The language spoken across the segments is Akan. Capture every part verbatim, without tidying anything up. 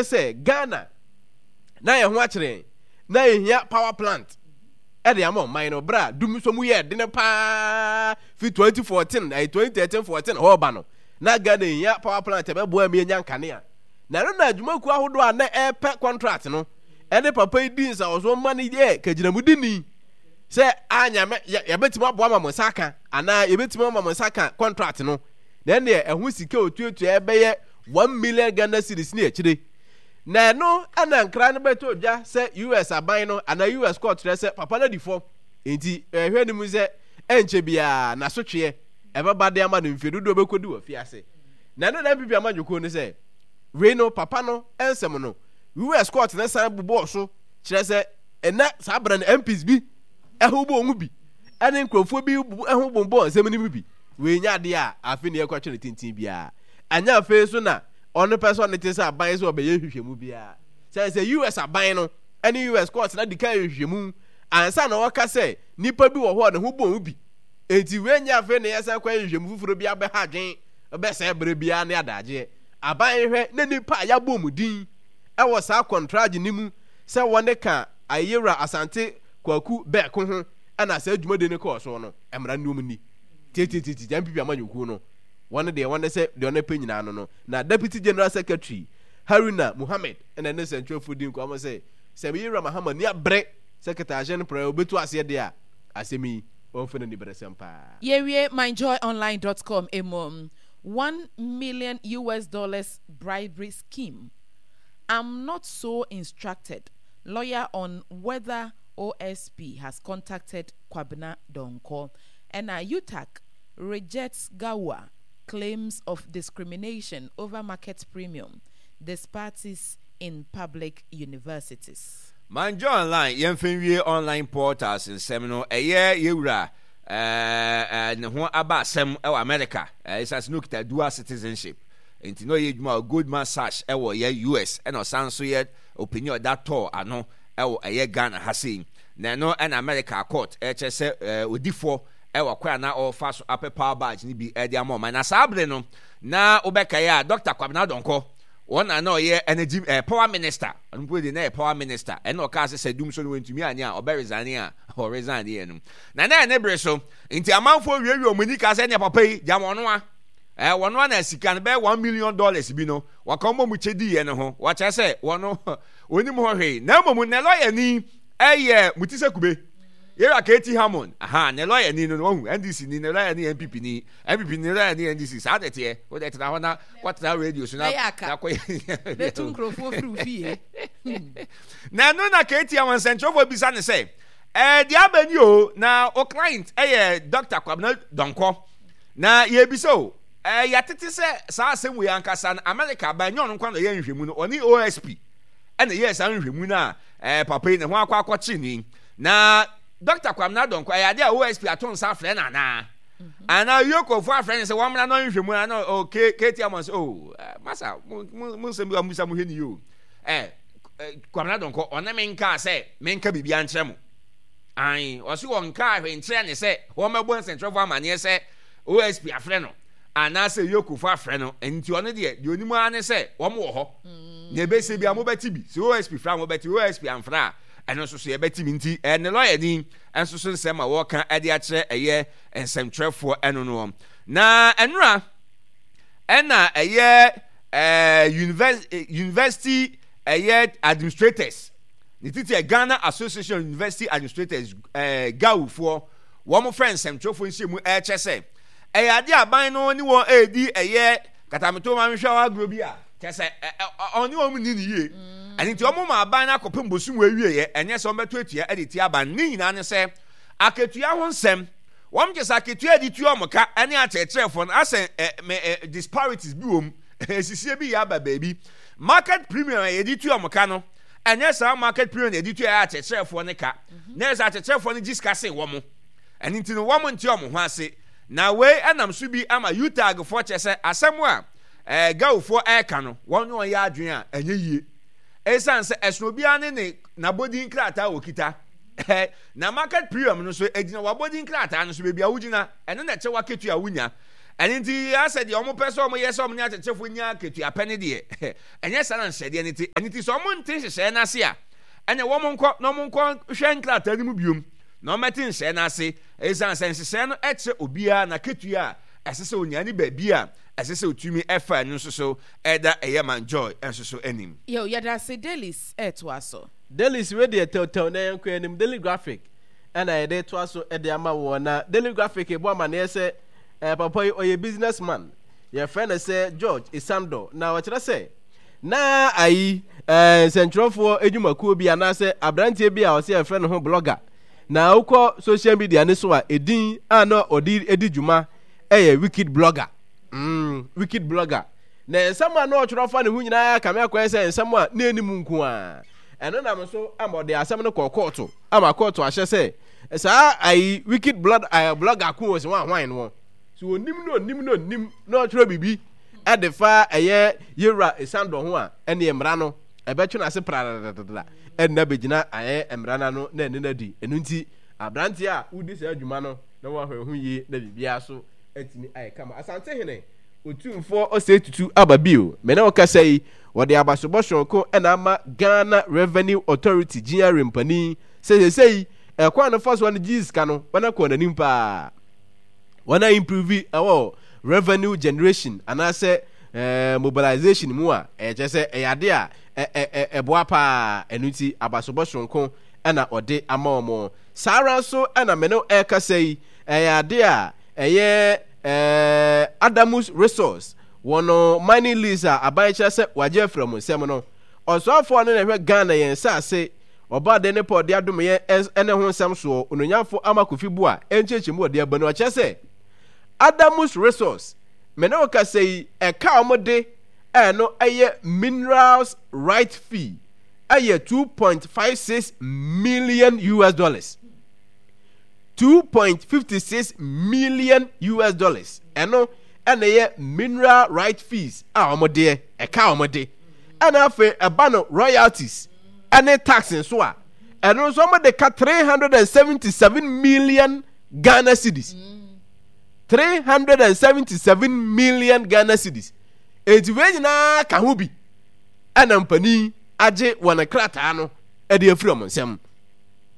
Sɛ Ghana na yɛn ho akyere yɛn na yɛhia power plant ɛde ama ɔman no berɛ a dum nso mu yɛ dene paa fi twenty fourteen, ɛyɛ twenty thirteen fourteen hɔ ba no, na Ghana hia power plant ɛbɛboa mi anya nkanea. Na ɛno na adwumakuo ahodoɔ a na ɛrepɛ contract no ɛne papa yi di nsawɔsoɔ ma no yɛ kagyinamudini sɛ anyame yɛbɛtumi aboa ma mo nsa aka anaa yɛbɛtumi ama mo nsa aka contract no, na ɛneɛ ɛho sika otuatua ɛbɛyɛ one million Ghana cedis ne akyire. Na ɛno ɛna nkra no bɛtɔ dwa sɛ U S aban no anaa U S court kyerɛ sɛ papa no adi fɔ, nti ɛhwɛ no mu sɛ ɛnkyɛ biara n'asotweɛ ɛbɛba de ama no mfie dodoɔ bɛkɔdi wɔ fiase. Na ɛno na N P P amanyɔkuo no sɛ wei no papa no nsɛm no U S court no san bobɔɔ so kyerɛ sɛ ɛnɛ saa berɛ no M Ps bi ɛho bɔ ɔho bi ɛne nkurɔfoɔ bi ɛho bobɔ nsɛm no mu bi. Wei nyɛ adeɛ a afei ne yɛkɔtwe no tenten biara, ɛnyɛ afei so na ɔno pɛ sɛ ɔne te sɛ aban sɛ ɔbɛyɛ nhwehwɛmu biara sɛ sɛ U S aban no ɛne U S court na di kan nhwehwɛmu ansa na wɔka sɛ nipa bi wɔ hɔ a ne ho bɔ ho bi. Enti wei nyɛ afei na yɛsan kɔ nhwehwɛmu foforɔ bi abɛha adwen bɛsɛe berɛ biara ne adagyeɛ. Aban hwɛ na nipa a yɛabɔ mu din ɛwɔ saa contract ne mu sɛ wɔne ka Ayewura Asante Kwaku Bɛɛko ho ɛna saa dwumadi no kɔɔ so no, mmara no mu ni tietietie. N P P amanyɔkuo no, wɔn deɛ wɔn sɛ deɛ ɔno pɛ nyinaa no no na Deputy General Secretary Haruna Muhammed ɛna ne nsɛntwerɛfoɔ di nkɔmɔ sɛ sɛ Yewura Mahama ni abere sɛ kɛtɛahyɛ no prɛ obetu aseɛ deɛ a, asɛm yi wɔmfa no niberesɛm paa. Yɛwie myjoyonline dot com emu, one million U S dollars bribery scheme. "I'm not so instructed." Lawyer on whether O S P has contacted Kwabena Donkor. And a U T A C rejects GAWUA claims of discrimination over market premium disparities in public universities. Myjoy Online, yɛmfa nwie online portals nsɛm no. Ɛyɛ yɛwura ɛɛ ne ho aba asɛm ɛwɔ America, ɛsan sɛ no okita dual citizenship, nti na ɔyɛ adwuma wɔ Goldman Sachs ɛwɔ yɛ U S, ɛna ɔsan so yɛ ɔpanyin a ɔda tɔɔ ano ɛwɔ ɛyɛ Ghana ha sei. Na ɛno ɛna America court ɛkyɛ sɛ ɛɛ odifoɔ ɛwɔ kwan a na ɔrefa so apɛ power barge no bi ɛde ama ɔman. Na saa abere no na wobɛkae a, Doctor Kwabena Donkor, wɔn na na ɔyɛ energy ɛɛ power minister. Ɔno mpo de na yɛ power minister, ɛna ɔkaa sɛ sɛ dum so no wɔntumi anye a, ɔbɛ resign a ɔresign yɛ no. Na na ɛne bere so nti amanfoɔ wiewie wɔn ani kaa sɛ ɛnea papa yi gya wɔn a ɛɛ wɔn a na sika no bɛyɛ one million dollars bi no wɔka wɔn mu kyɛ di yɛ no ho, wɔkyerɛ sɛ wɔn onim hɔ hwee. Na mmom ne lawyer ni ɛyɛ Mutisa Kube, yɛrɛ K T Hammond. Aha ne lawyer ni no no wahu N D C ni, ne lawyer ni N P P ni, N P P ni lawyer ni N D C. Saa de teɛ, o de tena hɔ na kɔtena radio so na na kɔ. Bɛtu nkurɔfoɔ firi wo fie. Na ɛno na K T Hammond nsɛnkyerɛfoɔ bisa ne sɛ ɛɛ deɛ aba ni o, na o client ɛyɛ Doctor Kwabena Donkor, na yɛbisa o, ɛɛ yɛatete sɛ saa asɛm wei ankasa no America aban nyɛ ɔno nkwa na ɔyɛ nhwɛmu no, ɔne O S P ɛna ɛyɛ saa nhwɛmu no a ɛɛ papa yi ne ho akɔ akɔkye ni. Na Doctor Kwabena Donkor, ɛyɛ adeɛ a O S P ato nsa afrɛ no anaa anaa yokofo afrɛ no sɛ wɔn mmra na ɔnhwɛ mu ana? O K KT Hammond sɛ o masa mo mo mo nsɛm bi a mo bisa mo hwɛ ni yi o, ɛɛ Kwabena Donkor ɔne me nkaa sɛ menka biribi ankyerɛ mo ayi. Ɔsi wɔn nkaa hwɛ nkyerɛ ne sɛ wɔn bɛbɔ nsɛntwerɛfo amaneɛ sɛ O S P afrɛ no anaasɛ yokofo afrɛ no. Nti ɔno deɛ deɛ onim ara ne sɛ wɔn wɔ hɔ na ebesi bi a mobɛte bi sɛ O S P fra a mobɛte, O S P amfra a, ɛno nso so yɛbɛte bi. Nti ɛne lawyer ni nso so nsɛm a wɔka ɛde akyerɛ ɛyɛ nsɛmtwerɛfoɔ ɛno no. Na ɛnora ɛna ɛyɛ ɛɛ university university ɛyɛ administrators ne titi ɛ Ghana Association of University Administrators, ɛɛ G A U foɔ, wɔn fɛ nsɛmtwerɛfoɔ nhyɛmu ɛrekyɛ sɛ ɛyɛ adeɛ aban no ne wɔn ɛredi ɛyɛ katameto maame hwɛ agorɔ bi a kyɛ sɛ ɔne wɔn ni ne yie. Ɛne nti wɔn ma aban no akɔpem bosom wɔ awieɛ, ɛnyɛ sɛ wɔn bɛto atua ɛde tia aban ne nyinaa ne sɛ akatua ho nsɛm. Wɔn kyɛ sɛ akatua yɛde tua wɔn ka ɛne akyerɛkyerɛfoɔ no asɛ ɛ mɛ ɛ disparities bi wɔ mu, esisie bi yɛ aba baabi. Market premium a yɛde tua wɔn ka no, ɛnyɛ saa market premium na yɛde tua yɛ akyerɛkyerɛfoɔ no ka, na yɛ sɛ akyerɛkyerɛfoɔ no gye sika sen wɔn. Ɛne nti no wɔn nte wɔn ho ase. Na wei ɛnam so bi ama U T A G foɔ kyɛ sɛ asɛm a ɛɛ G A U foɔ ɛɛka no, wɔn ne wɔn yɛ adwene a ɛnyɛ yie, ɛsiane sɛ ɛsono obiara ne ne n'abɔdin krataa a wɔkita. Na market premium no nso egyina w'abɔdin krataa no so, baabi a wogyina, ɛno na ɛkyɛ w'akatua a wonya. Ɛno nti asɛ deɛ wɔn pɛ sɛ wɔn yɛ sɛ wɔn ne akyerɛkyerɛfoɔ nya akatua pɛ ne deɛ, ɛnyɛ saa na nhyehyɛdeɛ no te. Ɛno nti sɛ wɔn nte nhyehyɛeɛ no ase a, ɛnna wɔn nkɔ na wɔn nkɔ hwɛ nkrataa no mu biom na wɔmmɛte nhyehyɛeɛ no ase. Esiane sɛ nhyehyɛeɛ no kyerɛ obiara n'akatua a ɛsɛ sɛ onya ne baabi a ɛsɛ sɛ otumi fa ɛno nso so ɛda ɛyɛ man Joy nso so anim. Yo, yɛda ase Dailies ɛɛtoa so. Dailies wei deɛ tɛwtɛw na yɛnkɔ anim. Daily Graphic ɛna yɛde toa so de ama woɔ. Na Daily Graphic bɔ amaneɛ sɛ eh, papa yi ɔyɛ business man, yɛfrɛ no sɛ George Isandor. Na ɔkyerɛ sɛ na ayi eh, nsɛntwerɛfoɔ adwumakuo bi anaasɛ aberanteɛ bi a ɔsɛ yɛfrɛ no ho blogger. Na wokɔ social media ne so a, edin a na ɔde di dwuma ɛyɛ wicked blogger. Mm, wicked blogger. Na nsɛm a na ɔtwerɛ fa ne ho nyinaa kame akɔyɛ sɛ nsɛm a na ɛnim nko a. Ɛno nam so ama ɔde asɛm no kɔɔ kɔɔto ama kɔɔto ahyɛ sɛ saa ayi wicked blood uh, blogger ko wɔ sɛ wɔn ahwan no so onim na onim na onim na ɔtwerɛ biribi ɛde fa ɛyɛ yɛwura esandɔ ho a, ɛne mmara no ɛbɛtwe n'ase pradadadada ɛnna bɛgyina ayɛ mmara no ano na ɛne no adi. Ɛno nti aberanteɛ a wodi saa adwuma no na wɔahwɛ ho yie na biribiara so atumi ayɛ kama. Asantehene Otumfoɔ Osei Tutu aba bio. Me ne wo kasa yi, wɔde abasobɔ soronko na ama Ghana Revenue Authority, G R A, mpanin sɛ seesei ɛkwan a no fa so a no gye sika no, wɔn akɔ n'anim paa. Wɔn a improve ɛwɔ revenue generation anaasɛ eh, mobilization mu a, ɛkyerɛ sɛ ɛyɛ ade a ɛboa paa. Ɛno nti abasobɔ soronko na ɔde ama wɔn. Saa ara nso na me ne wo ɛrekasa yi, ɛyɛ ade a ɛyɛ eh, Adamus Resource wɔn mining lease a aban kyerɛ sɛ wagye afiri wɔn nsam no. Ɔsoafoɔ a ɔno na ɛhwɛ Ghana yɛn nsaase, ɔbɔadeɛ ne pɛ ɔde adom yɛn ne ho nsɛm soɔ, Onuonyamfo Ama Kofi Boa nkyerɛkyerɛmu ɔde aba no, ɔkyerɛ sɛ Adamus Resource, me ne wo kasa yi, ɛka a wɔde ɛno ɛyɛ minerals right fee ɛyɛ two point five six million U S dollars. two point five six million U S dollars. Ɛno ɛna ɛyɛ mineral right fees a wɔn deɛ ɛka wɔn de. Ɛna afei ɛba no royalties ɛne tax nso a, ɛno nso wɔn de ka three hundred and seventy seven million Ghana cedis. three hundred and seventy seven million Ghana cedis. Eti wei nyinaa ka ho bi ɛna mpanin agye wɔn krataa no ɛde afiri wɔn nsam.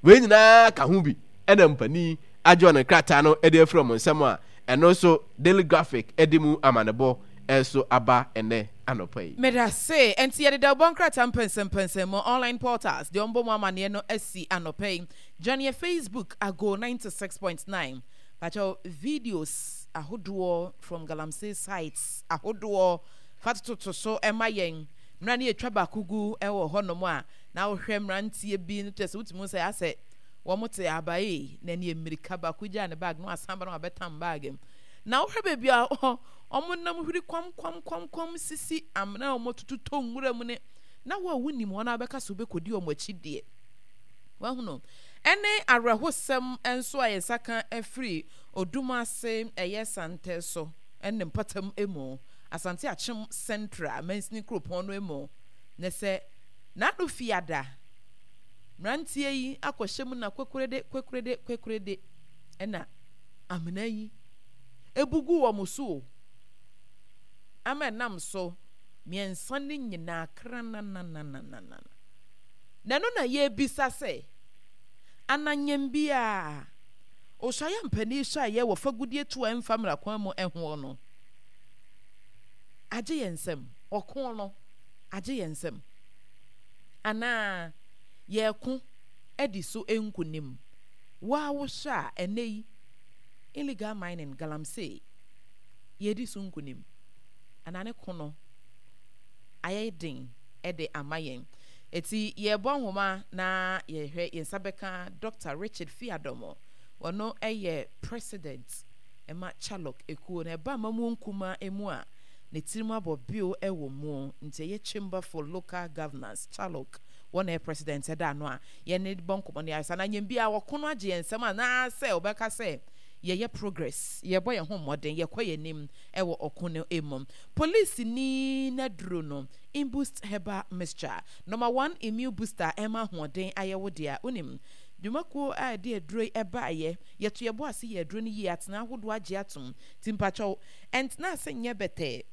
Wei nyinaa ka ho bi ɛna mpanin agye wɔn krataa no ɛde afiri wɔn nsam a, ɛno nso Daily Graphic ɛde mu amanebɔ ɛso aba ɛnɛ anɔpa yi. Medase. Ɛnti yɛde dawubɔ nkrataa mpɛnsɛmpɛnsɛn mu online portals deɛ ɔmbɔ mu amaneɛ no asi anɔpa yi. Join yɛ Facebook Ago ninety six point nine. Pakyɛw videos ahodoɔ from galamsey sites ahodoɔ fa tototo so ma yɛn. Mmerɛ ne yɛtwa baako gu wɔ hɔnom a, na wohwɛ mmeranteɛ bi no kyerɛ sɛ wotumi hu sɛ asɛ wɔn te abae na ɛne mmirika baako gyaa ne bag na wasan ba na wabɛtam bag mu. Na wohwɛ baabi a wɔn nam hwiri kwam kwam kwam kwam sisi amena a wɔtutu tɔ nwura mu ne na wo a wonim wɔn a wobɛka sɛ wobɛkɔdi wɔn akyi deɛ wahunu. Ɛne awerɛhosɛm nso a yɛn nsa ka afiri Odum ase ɛyɛ Santɛ so ne mpɔtam mu, Asante Akyem Central mansini kuropɔn no mu, ne sɛ n'ano fiada mmeranteɛ yi akɔhyɛ mu na kwekurede kwekurede kwekurede ɛna amena yi ebu gu wɔn so o, ama ɛnam so mmiɛnsa no nyinaa krananananana. Na ɛno na yɛrebisa sɛ, ananyɛm biara Osuayɛ mpanin suaeɛ wɔ fagudeɛ tu a ɛmfa mmara kwan mu hoɔ no agye yɛn nsam? Ɔko no agye yɛn nsam? Anaa yɛreko adi so nkonim? Wo ara wohwɛ a, ɛnnɛ yi, illegal mining, galamsey, yɛredi so nkonim? Anaa ne ko no ayɛ den de ama yɛn? Eti yɛrebɔ nhoma na yɛhwɛ yɛn nsa bɛka Doctor Richard Fiadomo. Ɔno yɛ President ma Chalok ekuo no. Ɛba amammuo nkumaa mu a, ne tirim abɔ bio wɔ mu. Nti ɛyɛ Chamber for Local Governance, Chalok, wɔn na ɛyɛ President ɛda ano a yɛne bɔ nkɔmmɔ no. Yɛayɛ saa na anyɛ biara wɔko no agye yɛn nsam anaasɛ wɔbɛka sɛ yɛyɛ progress, yɛbɔ yɛn ho mmɔden, yɛkɔ yɛn anim wɔ ɔko no mu. Polisini n'aduro no, Imboost Herbal Mixture, Number one immune booster a ɛma ahoɔden ayɛ wo dea. Wonim, Dwumakuo a ɛde aduro yi baeɛ, yɛto yɛn bo ase yɛ aduro no yie, atena ahodoɔ agye atom. Nti mpakyɛw, ɛntena ase nyɛ bɛtɛɛ.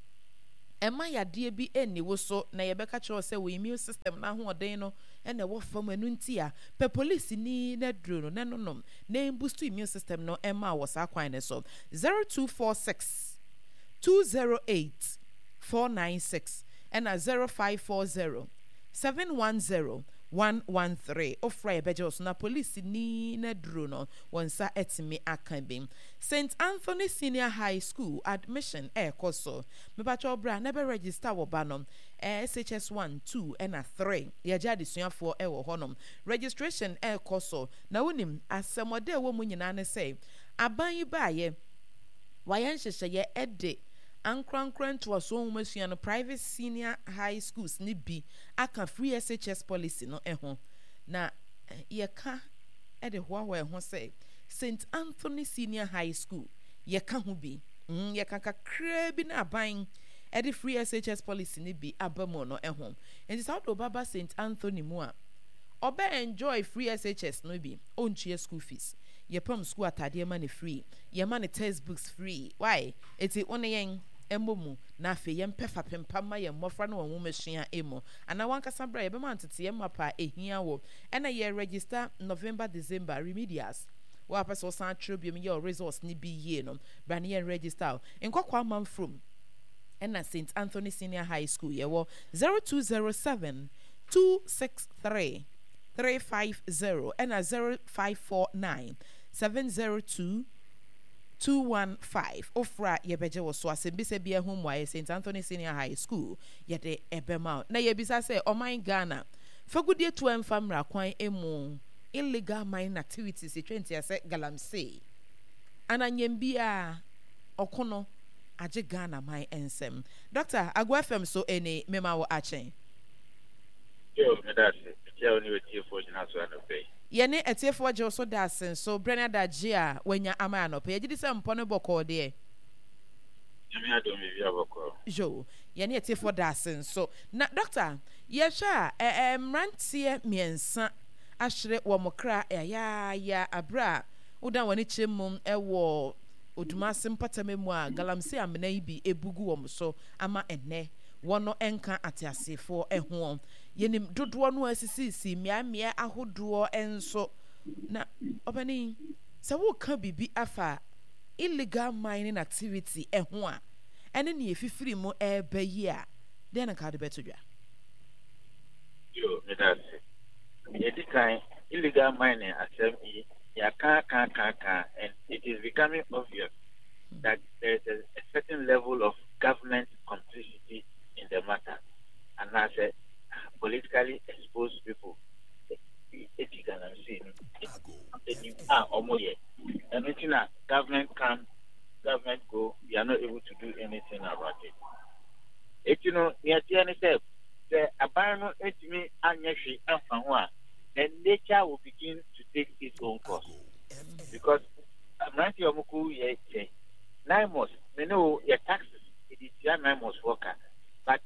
Ɛmma yadeɛ bi nni wo so na yɛbɛka kyerɛ wo sɛ wo immune system no ahoɔden no na ɛwɔ fam, ɛno nti a, pɛ polisini no aduro no na ɛnonom na ɛmbustu immune system no mma wo wɔ saa kwan no so. Zero two four six two zero eight four nine six ɛna zero five four zero seven one zero one one three. Wofrɛ a yɛbɛgye wo so na polisini no aduro no wo nsa atumi aka bi. Saint Anthony Senior High School admission ɛrekɔ so. Mepakyɛw bra na bɛ register wo ba no. S H S one, two ɛna three. Yɛgye adesuafoɔ ɛwɔ hɔnom. Registration ɛrekɔ so. Na wonim, asɛmɔdɛ a ɛwɔ mu nyinaa ne sɛ, aban yi baeɛ, wayɛ nhyehyɛeɛ ɛde ankorankora ntoasoɔ nwomasua no, private senior high schools no bi aka free S H S policy no ho. Na yɛka de hoahoa yɛn ho sɛ Saint Anthony Senior High School, yɛka ho bi. Mm, yɛka kakraa bi na aban de free S H S policy no bi aba mu no ho. Nti sɛ wode wo ba ba Saint Anthony mu a, ɔbɛ enjoy free S H S no bi, ɔntua school fees. Yɛpam school ataadeɛ ma no free, yɛma no textbooks free. Why? Enti wo ne yɛn mmɔ mu na afei yɛmpɛ fapem pa mma yɛn mmɔfra ne wɔn nwomasua mu. Anaa w'ankasa bra, yɛbɛma nteteeɛ mapa a ɛhia wo. Ɛna yɛ register November, December remedials. Wo a wopɛ sɛ wosan twerɛ biom yɛ wo results no bi yie no, bra ne yɛn register wo. Nkɔkɔɔ Amanfrom ɛna Saint Anthony Senior High School yɛwɔ zero two zero seven two six three three five zero ɛna zero five four nine seven zero two two one five. Wofrɛ a yɛbɛgye wo so. Asɛmbisa biara ho mmuaeɛ Saint Anthony Senior High School yɛde ɛbɛma wo. Na yɛbisa sɛ ɔman Ghana fagudeɛ tu ɛmfa mmra kwan mu illegal mining activities yɛtwa ntia sɛ galamsey ana nyɛm biara ɔko no agye Ghana man nsɛm. Doctor, Ago F M so ɛni mema wo akye. Yo, meda ase. Mekyia wo ne w'atiefoɔ nyinaa so anɔpa yi. Yɛne atiefoɔ gye wo so da ase nso berɛ ne adagye a woanya ama yɛn anɔpa yi. Yɛgye di sɛ mpɔ no bɔkɔɔ deɛ. Nyame adom biribiara bɔkɔɔ. Yo, yɛne atiefoɔ da ase nso. Na Doctor, yɛhwɛ a, ɛ ɛ mmeranteɛ mmiɛnsa ahwere wɔn kra yayaaya berɛ a wodan w'ani kyerɛ mu wɔ Odumase mpɔtam mu a galamsey amena yi bi abu gu wɔn so ama ɛnnɛ wɔn nka ateasefoɔ ho. Yɛnim dodoɔ no a asisisisi mmeaemmeae ahodoɔ nso. Na ɔpanin, sɛ woreka biribi afa illegal mining activity ho a, ɛne nea ɛfifiri mu reba yi a, dɛn na nka wode bɛto dwa? Yo, meda ase. Nea ɛdi kan, illegal mining asɛm yi, yɛaka aka aka aka and it is becoming obvious that there is a, a certain level of government complicity in the matter. Anaasɛ politically exposed people di galamsey no anim a wɔyɛ. Ɛno nti na government come, government go, we are not able to do anything about it. Eti no, nea ɛteɛ ne sɛ, sɛ aban no ntumi anyɛ hwee amfa ho a, then nature will begin to take its own course. Because mmeranteɛ a wɔkɔ yɛ kyɛ, NAIMOS, me ne wo yɛ taxes, yɛde tua NAIMOS foɔ ka. But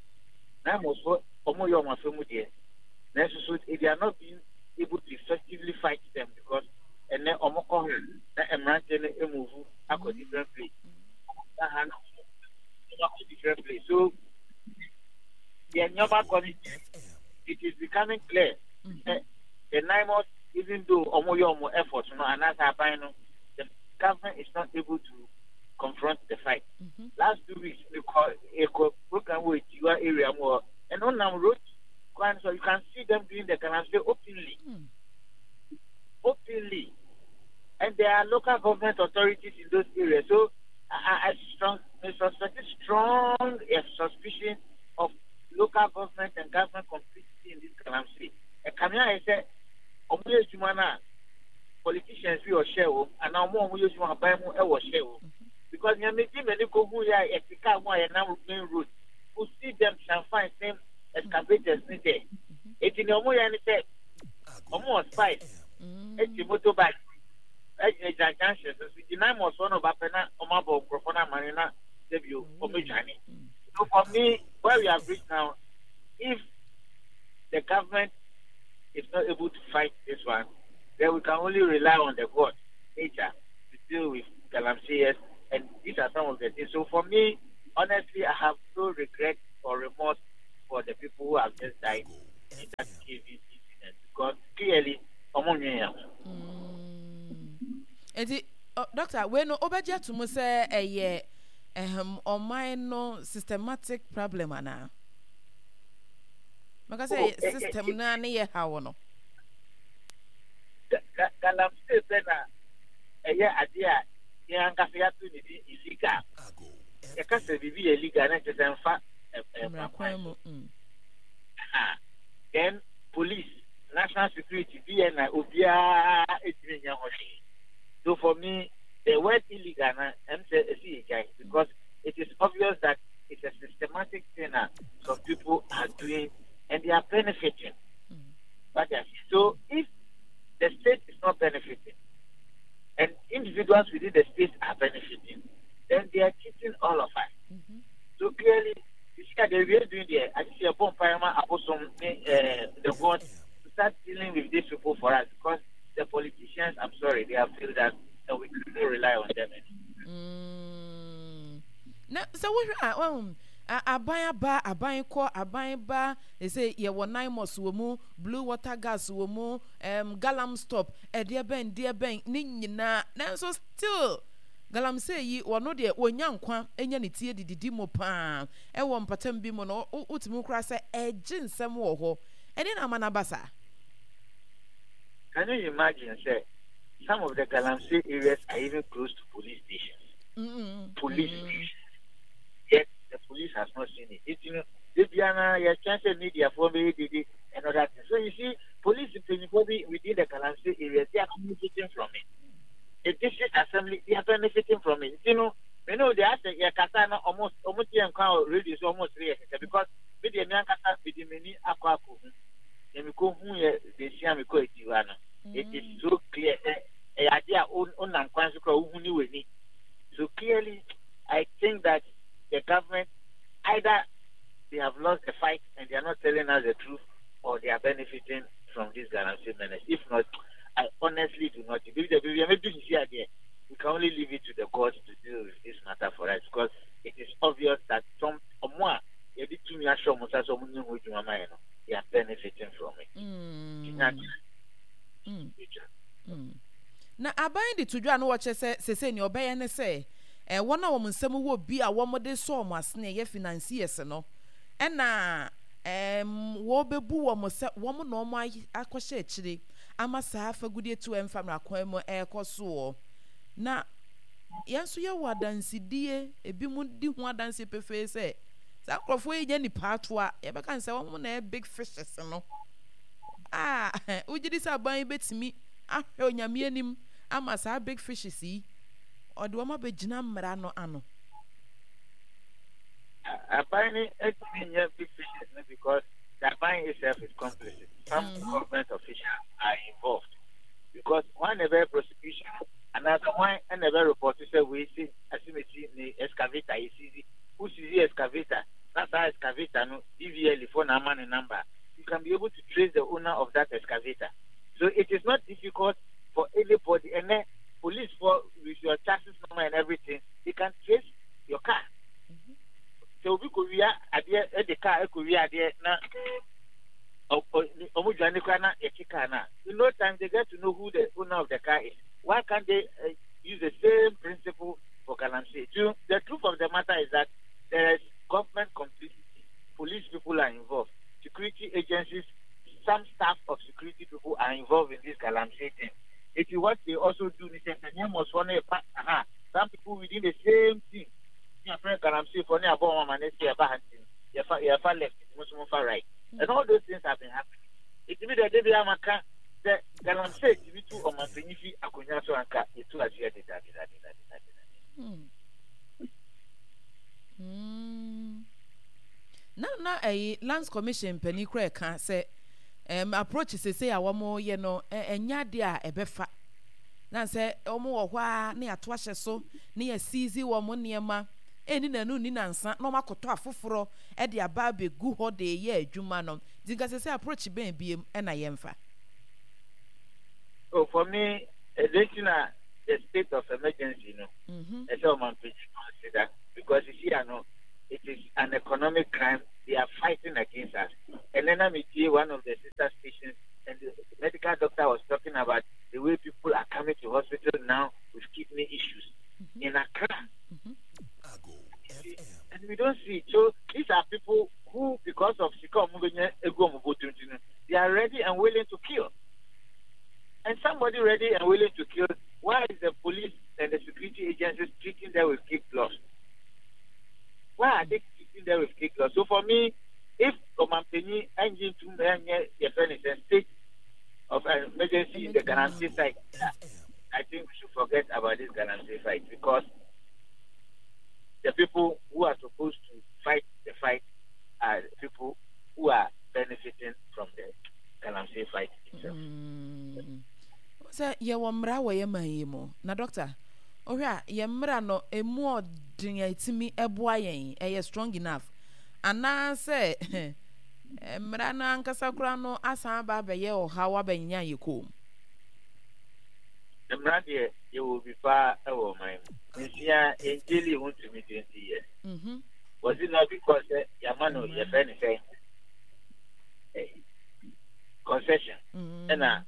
NAIMOS foɔ, wɔn yɛ wɔn afɛ mu deɛ. Nanso so they are not being able to effectively fight them because ɛnɛ wɔn kɔ ha na mmeranteɛ no move akɔ different place. Na ha no wɔn akɔ different place. So yɛn nneɛma kɔ no it is becoming clear sɛ the NAIMOS even though wɔn yɛ wɔn effort no anaasɛ aban no the government is not able to confront the fight. Mm-hmm. Last two weeks we call a program wɔ Etiwa area mu hɔ and ɔnam road kwan so you can see them doing the galamsey openly. Mm. Openly. And there are local government authorities in those areas. So I, I strong, I suspect strong a suspicion of local government and government complicity in this galamsey. Ɛkame ayɛ sɛ ɔmo yɛ adwuma no a politicians bi ɔhyɛ wɔ mu anaa ɔmo a ɔmo yɛ adwuma aban mu ɛwɔ hyɛ wɔ mu because nea megye m'ani kɔ hu yɛ a yɛte kaa mu a yɛnam main road you see them changfan same excavators ne dɛ eti nea ɔmo yɛ ne sɛ ɔmo wɔ spice eti motorbike ɛgyinagyina junction so so gyina mu ɔsɔ na ɔba pɛ na ɔmo abɔ nkurɔfoɔ no amane na sɛbio ɔmo adwane so for me where we have reached now if the government is not able to fight this one Then we can only rely on the God, nature, to deal with galamseyers. And these are some of the things. So for me, honestly, I have no regret or remorse for the people who have just died in that cave incident because clearly, ɔmo nwen yɛn ho. Nti doctor, wei no wobɛgye ato mu sɛ ɛyɛ ɛhɛm ɔman no systematic problem anaa? Mɛka sɛ Oh, eh, eh, system no ne yɛ haw no. Galamsey pɛ na ɛyɛ adeɛ a yɛn ankasa yɛato ne din illegal. Yɛka sɛ biribi yɛ illegal na nkyerɛ sɛ mfa mmara kwan mu. Mm. Then police, national security, B N I, obiara etumi nyɛ ho hwee. So for me, the word illegal na ɛm sɛ esi yɛ gyae because it is obvious that it's a systematic thing that some people are doing and they are benefiting. Mm. But so if the state is not benefiting and individuals within the state are benefiting, then they are cheating all of us. Mm-hmm. So clearly, you see that they are doing there. I see a bomb abosom uh, the God to start dealing with these people for us because the politicians, I'm sorry, they have failed us and we cannot rely on them anymore. Mm. Na sɛ wohwɛ a, wahu aban aba, aban kɔ, aban ba, sɛ yɛwɔ NAIMOS wɔ mu, Blue Water Gas wɔ mu, um, Galam Stop, ɛdeɛ bɛn deɛ bɛn ne nyinaa, nanso still galamsey yi, wɔno deɛ wɔnya nkwa nya ne tie dididi mu paa. Ɛwɔ mpatam bi mu no, wotumi kora sɛ ɛgye nsɛm wɔ hɔ ɛne na ama no aba saa. Can you imagine, sɛ, some of the galamsey areas are even close to police stations? Mm-hmm. Police mm-hmm. stations. Yet the police has not seen it. It's, you know, they be an chance media for me and other things. So you see, police people within the galamsey areas, they are benefiting from it. The district assembly, they are benefiting from it. You know, you know, they are saying, yeah, kasa almost almost radio so almost three years because me de me ankasa me de m'ani akɔ akɔ na me kɔ hu yɛ besia me kɔ akyi hɔ no. It is so clear sɛ ɛyɛ ade a wonam kwan so kora wohu ne w'ani. So clearly, I think that the government, either they have lost the fight and they are not telling us the truth, or they are benefiting from this galamsey menace. If not, I honestly do not. Maybe we can only leave it to the gods to deal with this matter for us because it is obvious that some more yɛde tumi ahyɛ ɔmo nsa sɛ ɔmo nye ho adwuma ma yɛ no, they are benefiting from it. Mm. Mm. Mm. Na aban de to dwa no, wɔkyerɛ sɛ sese nea ɔbɛyɛ ne sɛ eh, wɔn a wɔn nsɛm wɔ bi a wɔde sɔ wɔn asene ɛyɛ financiers no, ɛna ɛɛm wɔbɛbu wɔn sɛ wɔn na wɔn akɔhyɛ akyire ama saa fagudie tu ɛmfa mmara kwan mu ɛrekɔ soɔ. Na yɛn nso yɛwɔ adansidie, ebi mu di ho adansie pefee sɛ saa nkurɔfoɔ yi nyɛ nipa atoa, yɛbɛka ne sɛ wɔn na ɛyɛ big fishes no a. Wogye di sɛ aban yi bɛtumi ahwɛ Onyame anim ama saa big fishes yi ɔde wɔn abɛgyina mmara no ano? Aban ni etumi nyɛ big fishes no because the aban itself is complicit. Some mm-hmm. government officials are involved because one never prosecution anaasɛ one ɛna report sɛ wei si asimesi ne excavator yɛ seize. Who seize excavator na saa excavator no D V L A for na ama ne number, you can be able to trace the owner of that excavator. So it is not difficult for anybody. And then police, for with your chassis number and everything, they can trace your car. Sɛ obi kɔ wia adeɛ, ɛde car ɛkɔ wia adeɛ na ɔmo dwane kora na yɛkye car na in no time they get to know who the owner of the car is. Why can't they uh, use the same principle for galamsey? So the truth of the matter is that there is government complicity. Police people are involved, security agencies, some staff of security people are involved in this galamsey thing. If you what they also do ni sɛ sɛ nneɛma ɔsɔ no ɛba aha, some people within the same team ní afɛn galamsey fo ní abɔ wɔn ama ne se ɛba ha, nti yɛfa yɛfa left, mo nso mo fa right, and all those things have been happening. Etimi dɛ de bi ama ka sɛ galamsey timi tu ɔmanpanyin fi akonnwa so anka etu aseɛ deda deda deda deda deda. Mm. Mm. na na ɛyi Lands Commission panyin kora ɛka sɛ um, approach sese a wɔn yɛ no, ɛnyɛ adeɛ a ɛbɛfa na sɛ wɔn wɔ hɔ a ne yɛato ahyɛ so ne yɛ seize wɔn nneɛma ɛni nanu ni nansa na wɔn akɔtɔ afoforɔ ɛde aba abɛgu hɔ de yɛ adwuma no. Nti nka sese approach bɛn biem ɛna yɛmfa? Oh, for me, ɛdɛ the state of emergency no, ɛsɛ ɔmanpanyin consider because you see, I know it is an economic crime. They are fighting against us. And then I'm one of the sister stations, and the medical doctor was talking about the way people are coming to hospital now with kidney issues mm-hmm. in Accra. Mm-hmm. And we don't see it. So these are people who, because of they are ready and willing to kill. And somebody ready and willing to kill, why is the police and the security agencies treating them with kid gloves? Why are they treating them with kid gloves? So for me, if ɔmanpanyin engine to a state of emergency in the Galamsey side, I think we should forget about this Galamsey fight because the people who are supposed to fight the fight are people who are benefiting from the Galamsey fight itself. Mm. Sɛ yɛwɔ mmara wɔ yɛ man yi mu na doctor ɔhwɛ a yɛ mmara no emu ɔden a etimi ɛboa yɛn ɛyɛ strong enough anaasɛ mmara no ankasa koraa no asan aba abɛyɛ ɔhaw abɛnya yɛ kɔn mu. Mmara deɛ yɛwɔ bi paa ɛwɔ ɔman mu nsia ngyeli ho ntumi twenty years. Mm-hmm. Was it not because sɛ yɛama no yɛfrɛ ne sɛ concession ɛna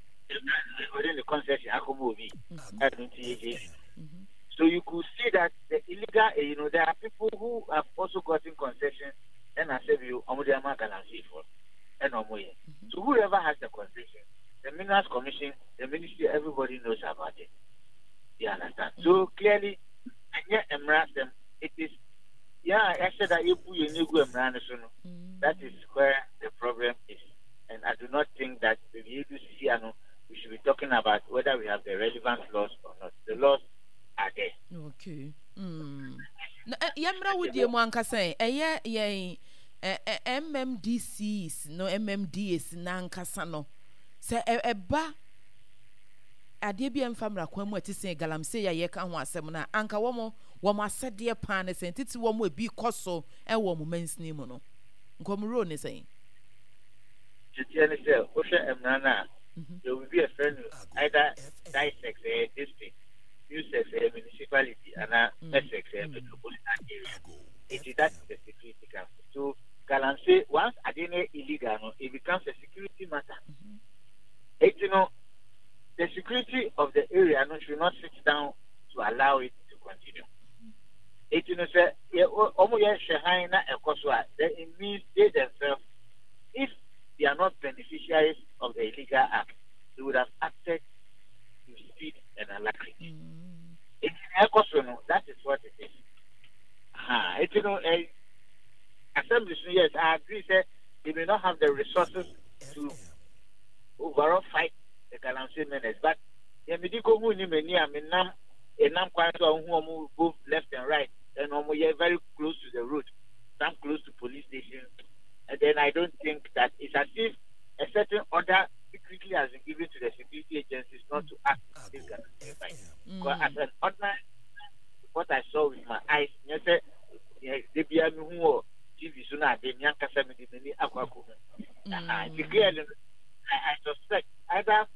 ɔde ne concession akɔma obi ɛno nti yɛgye. So you could see that the illegal, eh, you know, there are people who have also gotten concessions and I said you ɔmo de ama galamsey for ɛna ɔmo yɛ. So whoever has the concession, the Minerals Commission, the ministry, everybody knows about it. You understand? So clearly, ɛnyɛ mmara asɛm. It is yeah, I said that ebu yɛ negu mmara no so no. That is where the problem is. And I do not think that the no, we should be talking about whether we have the relevant laws or not. The laws are there. Okay. Mm. Na yɛmmra wo die mu ankasa ɛ ɛyɛ yɛn M M D Cs no, M M D As n'ankasa no sɛ ɛba adeɛ bi a ɛmfa mmara kwan mu a ɛte sɛ galamsey a yɛka ho asɛm no a anka wɔn wɔn asɛdeɛ paa ne sɛn titi wɔn ebi kɔ so ɛwɔ wɔn mansini mu no nkɔmuro ne sɛn. Titiɛ ne sɛ wohwɛ mmara no a yɛwɔ biribi a ɛfrɛ no either DISEC, ɛyɛ district, MUSEC, ɛyɛ municipality, anaa MESEC, ɛyɛ metropolitan area. Eti that is the security council. So galamsey, once adeɛ no yɛ illegal no, it becomes a security matter. Eti no the security of the area no should not sit down to allow it to continue. Eti no sɛ yɛ ɔmo yɛ hwɛ han na ɛkɔ so a, then it means they themselves, if they are not beneficiaries of the illegal act, they would have acted with speed and alacrity. Eti na ɛkɔ so no, that is what it is. Ha, eti no ɛ assemblies no, yes, I agree sɛ they may not have the resources to overall fight the galamsey menace, but yɛn mi di ko hu ni mani a mi nam ɛnam kwan so a ohun ɔmo both left and right and ɔmo yɛ very close to the road, some close to police station, and then I don't think that it's as if a certain order secretly has been given to the security agencies not to act this galamsey fight. Because as an ordinary, what I saw with my eyes, nyɛ sɛ de bia mi hu wɔ T V so na ade mi ankasa mi de m'ani akɔ akɔ hu. Nti clearly I, I suspect either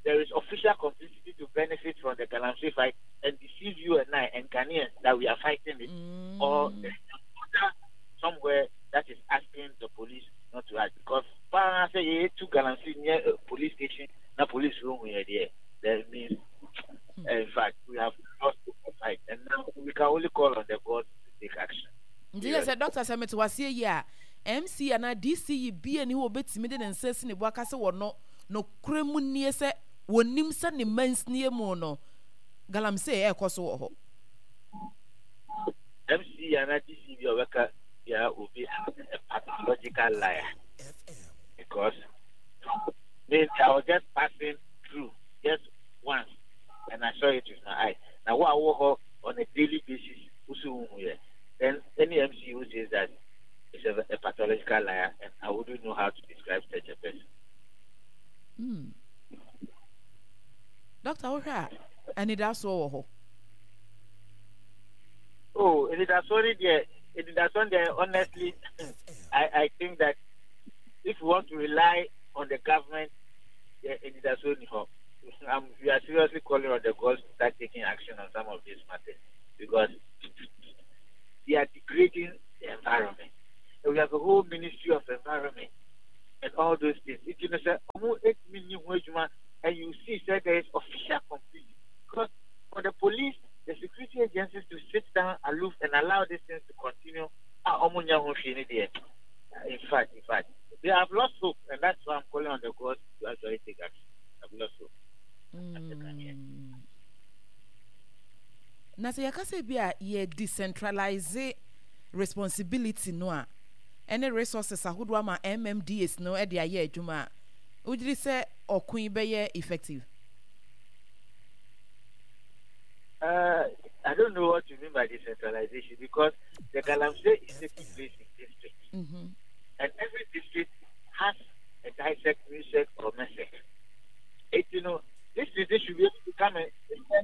there is official complicity to benefit from the galamsey fight and deceive you and I and Ghanaians that we are fighting it, mm. or there is an order somewhere that is asking the police not to act. Because paa sɛ yɛyɛ two galamsey near a police station na police room yɛ there, that means uh, in fact we have lost the fight and now we can only call on the gods to take action. Nti yɛ sɛ doctor sɛ mete waseɛ yi a M C anaa D C yi bie ni hɔ obɛtumi de ne nsa si ne bo aka sɛ wɔno nokorɛ mu nie sɛ wɔnim sɛ ne mansinie mu no galamsey ɛrekɔ so wɔ hɔ. M C anaa D C bi a ɔbɛka bia will be a pathological liar because me, I was just passing through just once and I saw it with my eyes. Now what I work on a daily basis, then any M C who says that is a, a pathological liar, and I wouldn't know how to describe such a person. Mm. Doctor, wohwɛ a anidasoɔ wɔ hɔ? Oh, anidasoɔ ni deɛ, anidasoɔ deɛ, honestly, I, I think that if you want to rely on the government, yeah, anidasoɔ ni hɔ. I'm, we are seriously calling on the gods to start taking action on some of these matters because they are degrading the environment. And we have a whole ministry of environment and all those things. It you know, say, eight million and you see say there is official complicity. Because for the police, the security agencies to sit down aloof and allow these things to continue. Ah, in fact, in fact, they have lost hope, and that's why I'm calling on the gods to actually take action. I've lost hope. Mm. Na sɛ yɛka sɛ bi a yɛ decentralize responsibility no a ɛne resources ahodoɔ ama M M D As no de ayɛ adwuma a, wogyiri sɛ ɔko yi bɛyɛ effective? Uh, I don't know what you mean by decentralization because the galamsey is taking place in districts. Mm-hmm. And every district has a DISEC, MUSEC, or MESEC. It, you know, this district should be able to come and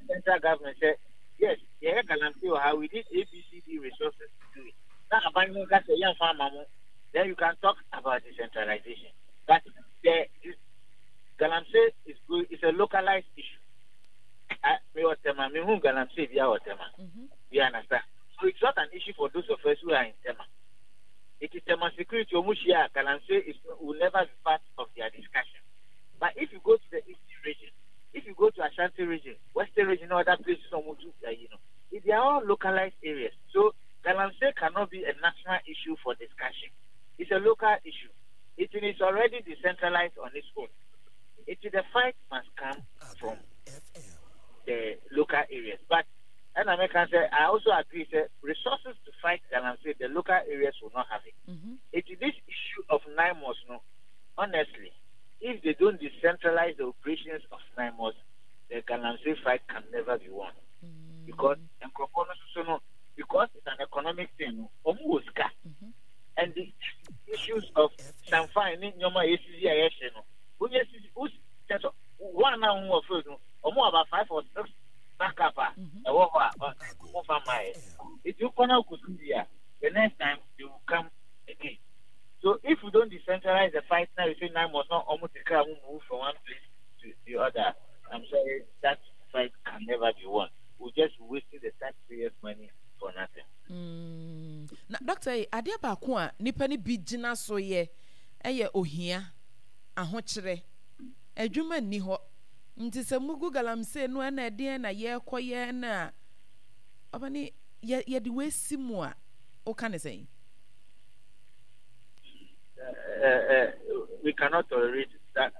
central government say, yes, yeah, galamsey or how we need A, B, C, D resources to do it. Now, then you can talk about decentralization. But the this galamsey is good, it's a localized issue. I, me wɔ Tema, me hu galamsey bi wɔ Tema. Mm-hmm. You understand? So it's not an issue for those of us who are in Tema. It is Tema security. Ɔmo hyia, galamsey is will never be part of their discussion. But if you go to the Eastern region, if you go to Ashanti region, Western region, other places, uh, you know, they are all localized areas. So galamsey cannot be a national issue for discussion. It's a local issue. It is already decentralized on its own. It is the fight must come from the local areas. But and I can say I also agree say resources to fight galamsey, the local areas will not have it. Mm-hmm. It is this issue of NAIMOS, no. Honestly, if they don't decentralize the operations of NAIMOS, the galamsey fight can never be won. Mm-hmm. Because so no, because it's an economic thing, no, ɔmo wɔ sika. Mm-hmm. And the issues of changfan ne nneɛma a yɛsisi a yɛhyɛ no, wonye sisi wo one na ho wɔ field no, ɔmo about five or six backup a ɛwɔ hɔ a ɔmo fa maa yɛ. If you kɔ na kosi bi a, the next time they will come again. So if we don't decentralize the fight now, you say NAIMOS not almost the move from one place to the other. I'm sorry, that fight can never be won. We're just wasting the taxpayers' money for nothing. Mm. Na doctor, adeɛ baako a nipa ni bi gyina so yɛ ɛyɛ ohia, ahokyerɛ, adwuma nni hɔ, nti sɛ mugu galamsey no ɛna ɛdeɛn na yɛrekɔyɛ na ɔbɛne yɛ yɛde wesi mu a woka ne sɛn? Uh, uh, we cannot tolerate that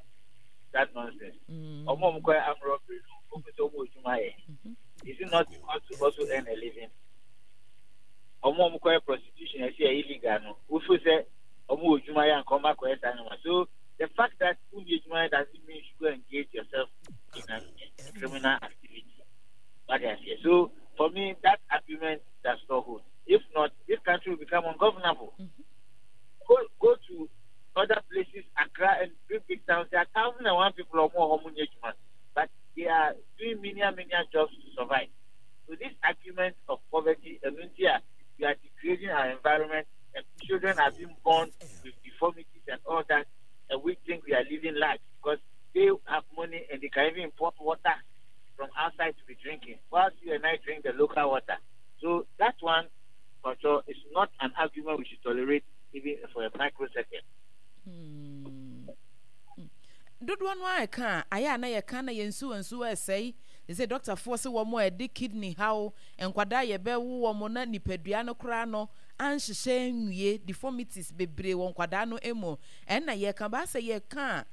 that nonsense. Ɔmo ɔmo kɔ armed robbery no, ɔmo sɛ ɔmo adwuma yɛ. Is it not because to also earn a living? Ɔmo ɔmo kɔ prostitution ɛsi ɛ illegal no, wofu sɛ ɔmo wɔ adwuma yɛ anka ɔmo akɔyɛ saa nneɛma. So the fact that wonni adwuma yɛ doesn't mean you should go engage yourself in a criminal activity. What I say. So for me, that argument does not hold. If not, this country will become ungovernable. Mm-hmm. Go, go to other places, Accra and big, big towns, there are thousand and one people or more ɔmo but they are doing many, many jobs to survive. So this argument of poverty, and here we are degrading our environment, and children are being born with deformities and all that, and we think we are living life because they have money and they can even import water from outside to be drinking, whilst you and I drink the local water. So that one, for sure, is not an argument we should tolerate even for a microsecond. Hmm. Dodoɔ no a ɛka a ayɛ a na yɛka na yɛn nsuo nsuo ɛsɛe sɛ dɔktafoɔ sɛ wɔn a ɛde kidney haw nkwadaa yɛbɛwo wɔn na nipadua no koraa no anhyehyɛ nwie, deformities bebree wɔ nkwadaa no mu, ɛnna yɛka baa sɛ yɛka a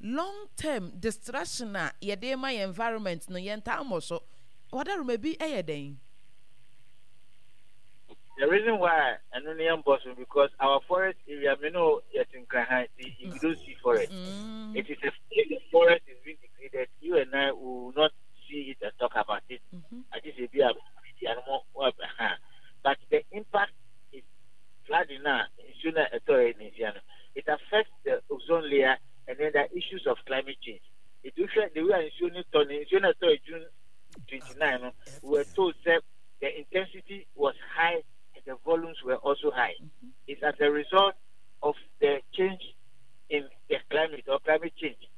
long term destruction a yɛde ma yɛn environment no yɛn taa mmɔ so wadaroma bi ɛyɛ dɛn? The reason why I don't know because our forest area, me know yet in if you don't see forest, mm. it is a, if the forest is being degraded, you and I will not see it and talk about it. Mm-hmm. I just be a but the impact is flooding now. It affects the ozone layer, and then there are issues of climate change. It the way June twenty-nine, we were told that the intensity was high and the volumes were also high. Mm-hmm. It's as a result of the change in the climate or climate change.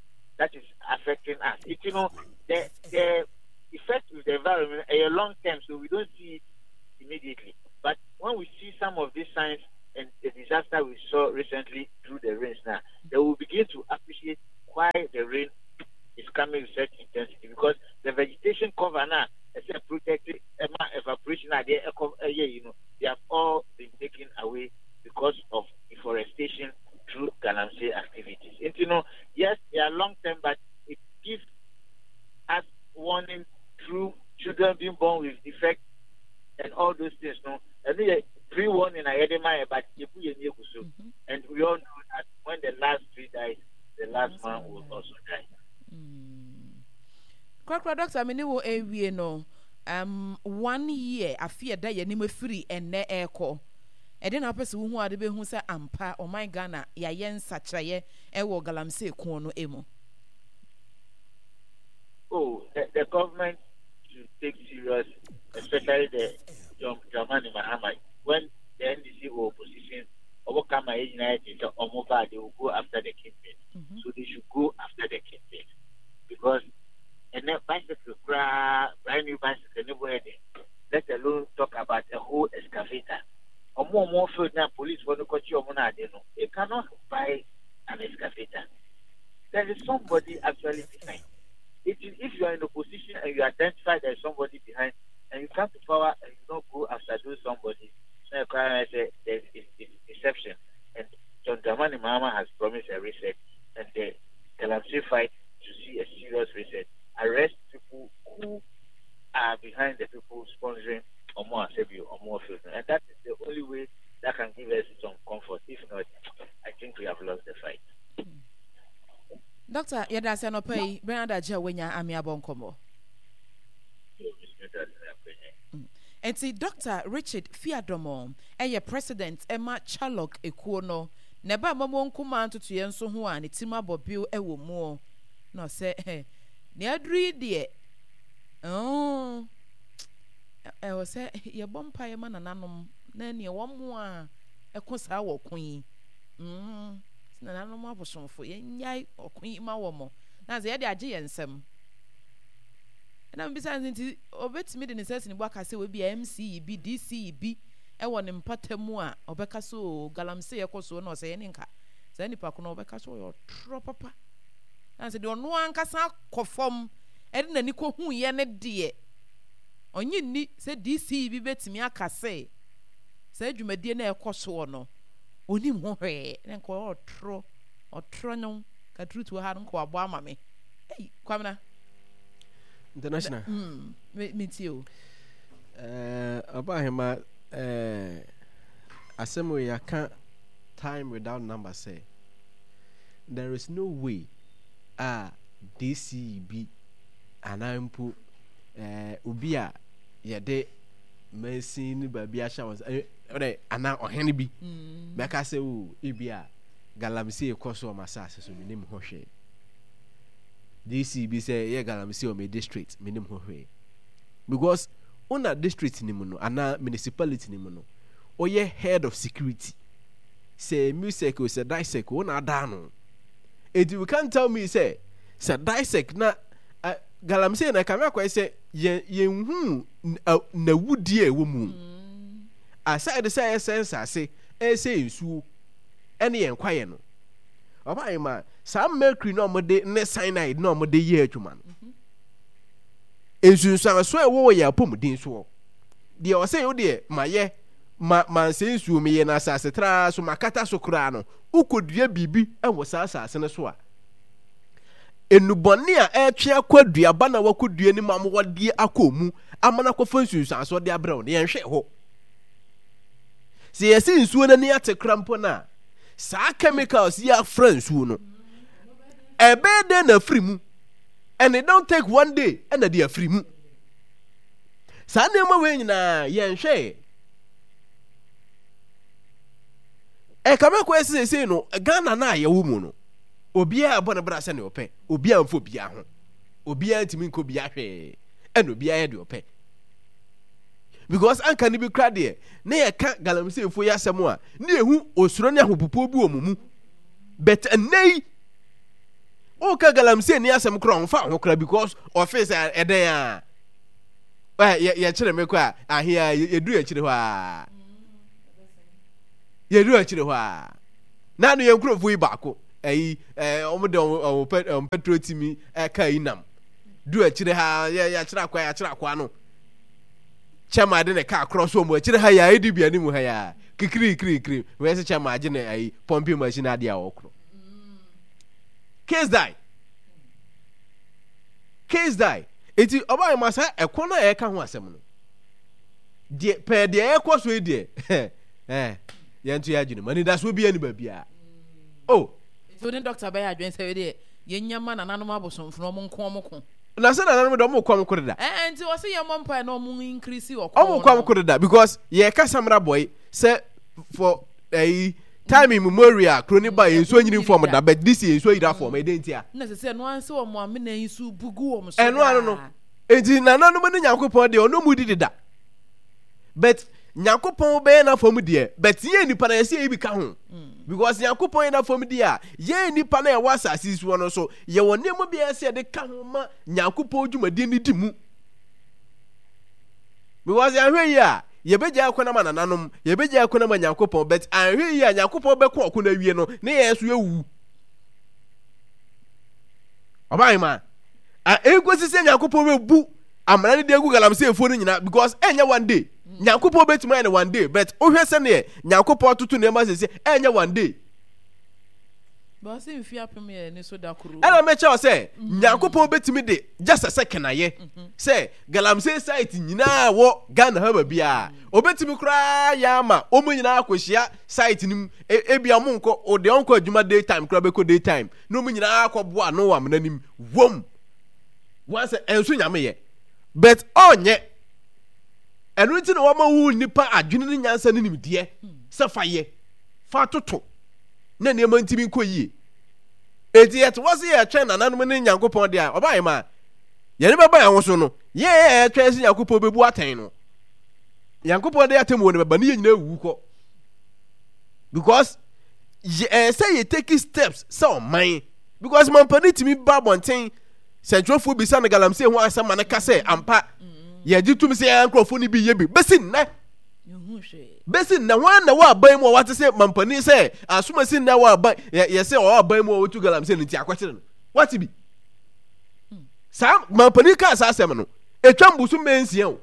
that is affecting us. It, you know, the, the effect with the environment a long term, so we don't see it immediately. But when we see some of these signs and the disaster we saw recently through the rains now, they will begin to appreciate why the rain is coming with such intensity, because the vegetation cover now is a protected evaporation, you know, they have all been taken away because of deforestation through galamsey activities. And you know, yes, they are long term, but it gives us warning through children being born with defects and all those things. No, and we pre-warning I had my but and we all know that when the last tree dies, the last man will also die. Krakra doctor, me wo ewie no um one year afi da ye nim afiri enne eko. Ede na pese wo hu ade be hu se ampa oman Ghana ya ye nsakyerɛ e wo galamsey ko no emu. Oh, the, the government should take serious, especially the John Dramani Mahama. When the N D C or opposition overcome United or they will go after the kingpin. Mm-hmm. So they should go after the kingpin, because and then bicycle, brand new bicycle, never let alone talk about a whole excavator. Or more, more field now, police want to catch you on they cannot buy an excavator. There is somebody actually behind. It is, if you are in opposition and you identify there is somebody behind, and you come to power and you don't go after those somebody, so I say there is deception. And John Dramani Mahama has promised a reset, and the galamsey fight to see a serious reset. Arrest people who are behind the people sponsoring Omo Asebi, Omo Field. And that is the only way that can give us some comfort. If not, I think we have lost the fight. Doctor, yada se no pay Bernard Aja wenya ami abonkomo. Enti Doctor Richard Fiadomo, eye president Emma Chalok ekuo no, neba momo nkuma ntutu ye nso ho a ne tima bobio ewo mu. No se eh ne aduri de oh eh wo se ye bompa ye ma nananom na ne wo mo a eko saa wo kun mm nananom abosomfo ye nyai okun ma wo mo na ze ye de age ye nsem na mbisa nti obetimi de ne sesi ne bo aka se we bi M C B D C B e wo ne mpatamu a obeka so galamsey ye koso na ose ye ne nka se nipa ko na obeka so yo tro papa na se de ono ankasa kofom e de nani ko hu ye ne de onye ni se D C B betimi aka se se adwumadie na ekoso no onim ho hwe na nko otro otro nyon ka truth wo ha nko abo ama me ei kwamna international mm me me tio eh abahema eh asem we yaka time without number say there is no way a D C B anampo eh obi a yede mansin ba bi ahya won eh ana ohene bi meka se o ebi a galamsey ekoso o masase so menim ho hwe D C B say ye galamsey o me district menim ho hwe because una district ni mu no ana municipality ni mu no oye head of security say music o say dissect o na da no it you can't tell me say say dissect na uh, galamsey na kame akwa say ye ye hu na wudie e wo mu aside say sense ase e say nsuo ene ye nkwaye no oba ma some mercury no mo de ne cyanide no mo de ye adwuma no ensunsuan so e wo ye apomuden so de o say wo de ma ye ma manse nsuo me ye na asase tra so makata so kura no ukodua bibi e wo sa asase ne so a enubone a etwe akwadua ba na wakodua ni mam wode akomu amana kofa nsunsuan so de abrɛ wo ne yenhwe ho se yesi nsuo na ni atekra mpo na saa chemicals yi afra nsuo no ebe de na afiri mu and it don't take one day and the afiri mu saa nneɛma wei nyinaa yɛnhwɛ e kame kwa sese no Ghana na yɛwo mu no obiara abɔ ne bra sɛ ne ɔpɛ obiara mfo bia ho obiara ntimi nko bia hwee ɛna obiara yɛ de ɔpɛ because anka ni bi kra de na yɛ ka galamsey fo yɛ asɛm a na ehu osuro ne ahopopo bi wɔ mu mu but enei Woka galamsey ni asɛm koraa ɔmfa ho koraa because ɔfee sɛ ɛdɛn a ɛ yɛkyerɛ me kɔ a ahe a yɛduru akyire hɔ a yɛduru akyire hɔ a na ano yɛn nkurɔfoɔ yi baako ɛyi ɛɛ wɔn de wɔn wɔn wɔn petrol timi ɛka yi nam duru akyire ha yɛ yɛakyerɛ akwa yɛakyerɛ akwa no kyɛma de ne kaa korɔ so wɔn akyire ha yɛ a edi bi anim ha yɛ a kikiri kiri kiri wɔyɛ sɛ kyɛma agye ne ɛyi pumping machine adeɛ a wɔkorɔ case die case die eti ɔbaa yi ma saa ɛko no a yɛka ho asɛm no deɛ pɛɛ deɛ ɛkɔ so yi deɛ ɛɛ yɛn to yɛ adwene mu anidasoɔ bi ɛni baabiara o. So ne dɔkta bɛyɛ adwene sɛ deɛ yɛnya ma nananom abosomfo no ɔmo nko ɔmo ko. Na sɛ nananom de ɔmo kɔ ɔmo ko deda. Ɛɛ nti wɔsi yɛn mmɔ mpae na ɔmo increase ɔko. Ɔmo kɔ ɔmo ko deda because yɛ kasa mra bɔyi sɛ for ɛyi time immemorial kuro ne ba yɛ nsuo nyini fam da but this year nsuo yira fam ɛdɛ ntia. Na sɛ sɛ ɛno anse wɔn amena yi so bugu wɔn so ɛno ano no nti nananom ne Nyankopɔn deɛ ɔno mu di deda but Nyankopɔn bɛyɛ n'afam deɛ but yɛn nipa na yɛsɛ yɛ bi ka ho mm. because Nyankopɔn yɛ n'afam deɛ a yɛn nipa na yɛwɔ asase yi soɔ no so yɛwɔ nneɛma bi a yɛsɛ yɛde ka ho ma Nyankopɔn dwumadie no di mu because yɛahwɛ yi a yɛbɛgya akɔ no ama nananom yɛbɛgya akɔ no ama Nyankopɔn but anhwɛ yi a Nyankopɔn bɛko ɔko no awie no ne yɛn nso yɛwu ɔbaa a ɛnkosi sɛ Nyankopɔn bɛbu amena no de agu galamseyfoɔ no nyinaa because ɛnyɛ one day Nyankopɔn bɛtumi ayɛ no one day but wohwɛ sɛneɛ Nyankopɔn atoto nneɛma sɛsɛ ɛnyɛ one day. Ɛna mɛkyɛ wo sɛ Nyankopɔn bɛtumi de just a second ayɛ sɛ galamsey site nyinaa wɔ Ghana ha baabiara obɛtumi koraa yɛ ama wɔn nyinaa akɔhyia site no mu ebia wɔn nkɔ deɛ ɔnkɔ adwuma day time koraa bɛkɔ day time na wɔn nyinaa akɔboa ano wɔ amena nim wɔm wɔn sɛ ɛnso Nyame yɛ but ɔnyɛ. Ɛno nti na wama wo nnipa adwene ne nyansa ne nimdeɛ sɛ fa yɛ, fa toto na nneɛma ntumi nkɔ yie. Enti yɛte hɔ sɛ yɛtwɛn nananom ne Nyankopɔn deɛ a, ɔbaeɛ ma yɛne bɛba yɛn ho so no, yɛn a yɛtwɛn sɛ Nyankopɔn bɛbu atɛn no, Nyankopɔn de atemmuo no bɛba ne yɛn nyinaa wuwu kɔ. Because ɛyɛ sɛ yɛ take steps sɛ ɔman because mampanin tumi ba abɔnten sɛntwerɛfoɔ bisa no galamsey ho asɛm ma no ka sɛ ampa yɛgye tom sɛ yɛn nkurɔfoɔ no bi yɛ bi bɛsi nnɛ bɛsi nnɛ wɔn na wɔ aban mu a wɔate sɛ mampanin sɛ asomasi nnɛ wɔ aban yɛ yɛsɛ ɔwɔ aban mu a wɔtu galamsey no nti akɔkyere no wɔate bi saa mampanin kaa saa asɛm no etwa mbusu mmɛ nsia o.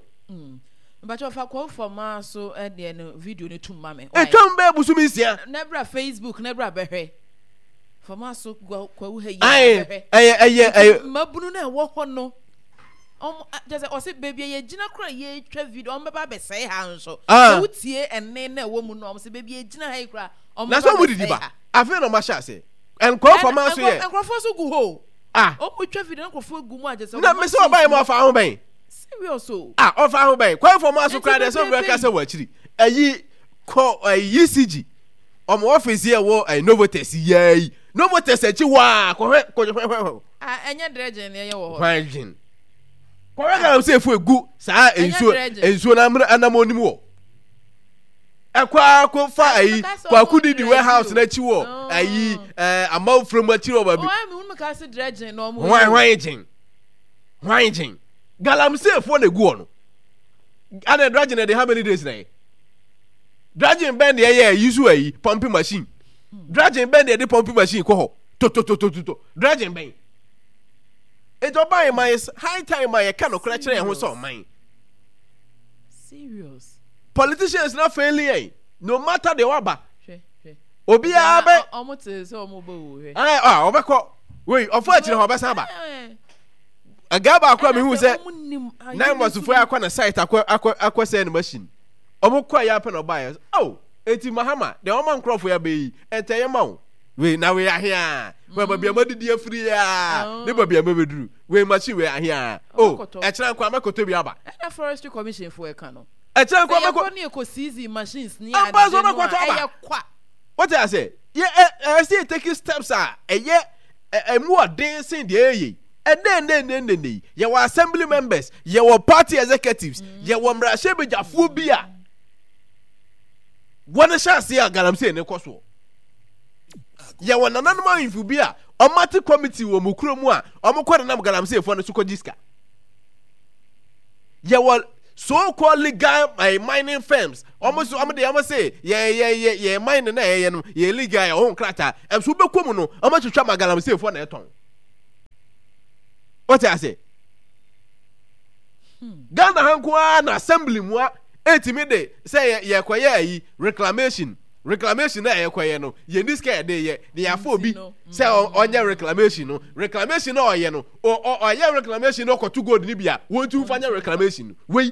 Mpakyɛ ɔfa kɔɔ fam so ɛdeɛ no video no tum ma me. Etwa mbɛ busu mi nsia. Na bra Facebook na bra bɛhwɛ. Fam so kwawu ha yi. Ɛyɛ ɛyɛ ɛyɛ. Mmabunu na ɛwɔ hɔ no. Ɔmo kyerɛ sɛ ɔse baabi a yɛgyina koraa yɛtwa video ɔmo bɛba abɛsɛe ha nso. Ah. Sɛ wotie ɛnne na ɛwɔ mu no ɔmo sɛ baabi a yɛgyina ha yi koraa ɔmo Na bɛba sɛ ɔmo didi abɛsɛe ba. ha. Afei na ɔmo ahyɛ ase. Nkurɔfoɔ Ɛna maa so yɛ. nkurɔfoɔ nso gu hɔ o. Ah. Ɔmo twa video na nkurɔfoɔ gu mu a kyerɛ sɛ Na ɔmo me sɛ ɔbaa yi mu ɔfa ho bɛn. Serious o. Ah ɔfa ho bɛn. Kwanfoɔ maa so Nti koraa deɛ sɛ ɔmo bebrebe bɛka yi. sɛ wɔ akyiri. Ɛyi kɔ ɛyi E C G ɔmo office yɛ wɔ ɛyi Novotex yɛ yi. Novotex akyi hɔ a kɔhwɛ kɔhwɛ hwɛ hwɛ. Ah ɛnyɛ dredging na ɛyɛ wɔ hɔ no. Hwan dwen? Kɔhwɛ galamsey fo egu saa nsuo nsuo na amena anam onim wɔ ɛkɔ akɔ fa ayi kwaku didi warehouse n'akyi wɔ ayi ɛɛ amanfo mu akyi wɔ baabi. Hwan hwan gyen hwan gyen galamsey fo na egu hɔ no ana dredging na de how many days na yɛ dredging bɛn deɛ yɛ ayi so ayi pumping machine dredging bɛn deɛ de pumping machine kɔ hɔ tototototo dredging bɛn. Enti ɔbaa yɛn ma it's high time a yɛka nokorɛ kyerɛ yɛn ho sɛ ɔman. Serious. Politicians na failing yɛn no matter deɛ waba. Obiara bɛ. Ɔmo te sɛ ɔmo bɛ o hwɛ. Ɛɛ a ɔbɛkɔ wei ɔfɔ akyire hɔ ɔbɛsan aba. Ɛgaa baako a mehu sɛ nine months fo akɔ na site akɔ akɔ akɔ sɛ ne machine. Ɔmo kɔ yɛ apɛ na ɔbaa yɛ oh eti Mahama deɛ ɔma nkorɔfo yɛ abɛyi ɛntɛ yɛ ma o. Wei na wei ahea wei baabi a madidi afiri a ne baabi a mɛbɛduru wei machine wei ahea o ɛkyerɛ nko a mɛkɔtɔ bi aba. Ɛna forestry commission fo ɛka no. Ɛkyerɛ nko a mɛkɔ. Sɛ yɛkɔ ne yɛkɔ seize machines ne ade no a ɛyɛ kwa. Wote ase yɛ ɛ ɛsɛ yɛ take steps a ɛyɛ ɛmu ɔden sen deɛ ɛyɛ yi ɛnɛ ɛnɛ ɛnɛ ɛnɛ yi yɛwɔ assembly members, yɛwɔ party executives, yɛwɔ mmarahyɛbadwafoɔ bi a wɔn hyɛ aseɛ a galamsey ne kɔ soɔ. Yɛwɔ nananom ahemfo bi a ɔmate committee wɔ mu kurom a ɔmo kɔ nenam galamseyfoɔ no so kɔgye sika. Yɛwɔ so called legal uh, mining firms, ɔmo so ɔmo de ɔmo se yɛ yɛ yɛ yɛ mining na yɛyɛ no yɛ legal, yɛ ɔho nkrataa. Ɛnso wobɛkɔ mu no, ɔmo atwitwa ma galamseyfoɔ na ɛtɔn. Wɔte ase? Ghana ha nko ara na assembly mu a ɛtumi de sɛ yɛ yɛkɔyɛ ayi reclamation reclamation na yɛkɔyɛ no, yɛn ni sika yɛde yɛ de yɛafɔ obi sɛ ɔnyɛ reclamation no. Reclamation na ɔyɛ no, ɔyɛ reclamation no, ɔkɔto gold ni bi a wɔntu nfa nyɛ reclamation no. Wei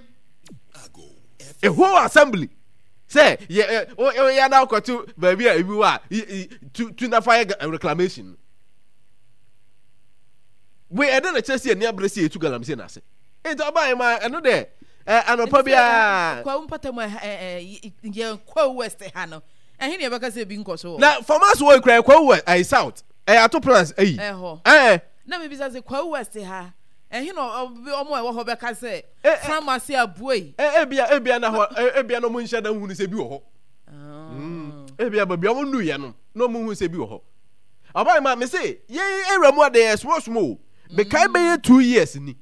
a whole assembly sɛ yɛ ɛ yɛ na ɔkɔto baabi a ebi wɔ a tu tu nafa yɛ reclamation no. Wei ɛde na kyerɛ sɛ yɛn ni abere sɛ yɛtu galamsey n'ase. Nti ɔbaa yi ma ɛno deɛ ɛ anɔpa biara. Kwawu mpata mu, ɛ ɛ yɛn Kwawu West ha no, ɛhe ne yɛbɛka sɛ ebi nkɔ so wɔ? Na farmers wɔ ekura Kwawu West ayi South ɛyɛ ato plans ayi. Ɛhɔ. Ɛɛ. Na mi bisa sɛ Kwawu West ha, ɛhe na ɔmo a ɛwɔ hɔ bɛka sɛ farmers abue? Ɛ ebia ebia na hɔ ebia na ɔmo nhyɛ da nhunu sɛ bi wɔ hɔ. Ebia baabi ɔmo nnu yɛ no na ɔmo hu sɛ bi wɔ hɔ. Ɔbaa yi ma mi se yɛn ewura mu ade yɛ small small o. Mekae bɛyɛ two years ni,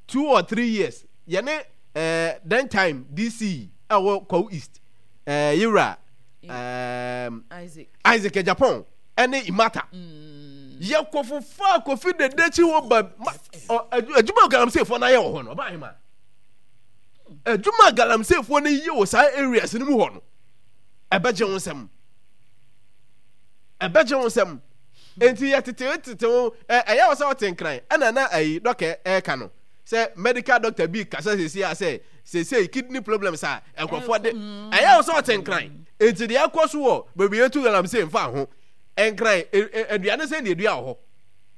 two or three years, yɛne ɛɛ then time D C a wɔ Kwawu East, ɛɛ yewura ɛɛ Isaac Isaac Japan ɛne Imata yɛkɔ fofa Kofi dede akyi hɔ ba ma ɔ adwuma galamseyfoɔ no ayɛ wɔ hɔ no. Ɔbaa yi ma adwuma galamseyfoɔ no yɛ wɔ saa areas no mu hɔ no, ɛbɛgye wo nsɛm, ɛbɛgye wo nsɛm. Nti yɛ tete tete ho ɛyɛ wɔ sɛ ɔte Nkran ɛna na ayi dɔkɛ ɛɛka no sɛ medical doctor bi kasa sese a sɛ sese kidney problems a nkurɔfoɔ de ɛyɛ wɔ sɛ ɔte Nkran. Nti deɛ ɛkɔ so wɔ baabi yɛtu galamsey nfa ho. Nkran aduane sɛ deɛ edua wɔ hɔ,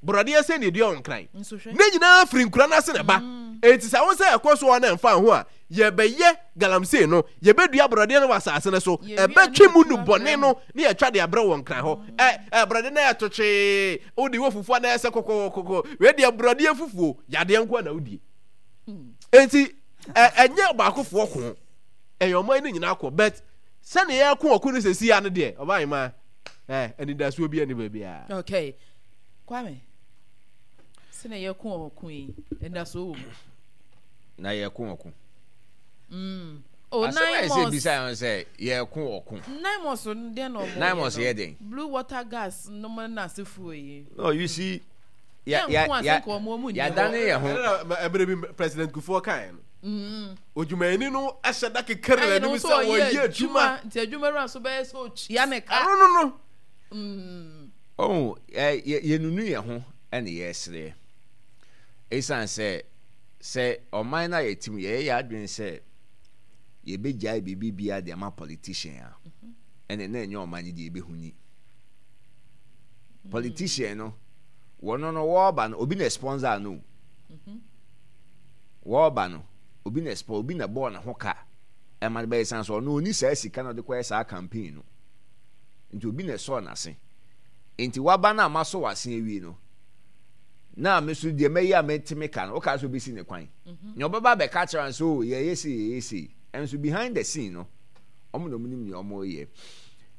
borɔdeɛ sɛ deɛ edua wɔ Nkran ne nyinaa firi nkura n'ase na ɛba. Nti sɛ wɔn sɛ ɛkɔ so wɔ na nfa ho a yɛbɛyɛ galamsey no, yɛbɛdua borɔdeɛ no wɔ asase no so, ɛbɛtwe mu nu bɔne no ne yɛtwa de abrɛ wɔ Nkran hɔ. Ɛ ɛ borɔdeɛ no yɛ totwee, wode wɔ fufuo a na ɛsɛ kɔkɔkɔkɔ. Wei deɛ borɔdeɛ fufuo yadeɛ nko na wodie. Nti ɛ ɛnyɛ baakofoɔ ko, ɛyɛ ɔman no nyinaa ko. But sɛnea yɛko ɔko no sɛsi ya no deɛ, ɔbaa ma ɛ anidasoɔ bi ani baabiara. Okay, Kwame, sɛnea yɛko ɔko yi, anidasoɔ wɔ mu? Na yɛko ɔko. Mm. Oh, asɛm a nine ɛsɛ months. Bisa yɛn sɛ yɛko ɔko. Nine months no deɛ na ɔmo Nine months yɛ yɛ no. Den. Blue Water Gas no mo na asefoɔ yi. No, you see, ya Yɛn ya nko ase ya nka ɔmo ɔmo nni yɛadane hɔ. yɛn ho. Ɛna ɛberɛ bi President Kufuor kaeɛ no, Mm. odwumayɛni no ɛhyɛ da kekere Ɛyɛ no n'anim nso sɛ ɔyɛ wɔyɛ adwuma. Nti adwuma wura nso bɛyɛ sɛ otua ne ka. Ɛno no no Mm. Oh, ɛ yɛ yɛnunu yɛn ho ɛna yɛresere, ɛsiane sɛ sɛ ɔman no a yɛte mu yɛyɛ yɛ adwene sɛ yɛbɛgyae biribi biara de ama politician a, ɛne na ɛnyɛ ɔman no deɛ yɛbɛhu ni. Politician no, wɔno no wɔreba no, obi na sponsor no. Wɔreba no, obi na sponsor, obi na bɔɔ ne ho ka ɛma no bɛyɛ san so. Ɔno ɔni saa sika na ɔde kɔyɛ saa campaign no, nti obi na ɛsɔɔ n'ase. Nti waba no a masɔ w'ase awie no, na me so deɛ mɛyɛ a mɛtumi ka no, woka sɛ obɛsi ne kwan nea ɔbɛba abɛka kyerɛ no sɛ o yɛyɛ sei, yɛyɛ sei, ɛnso behind the scene no, ɔmo na ɔmo nim nea ɔmo yɛ.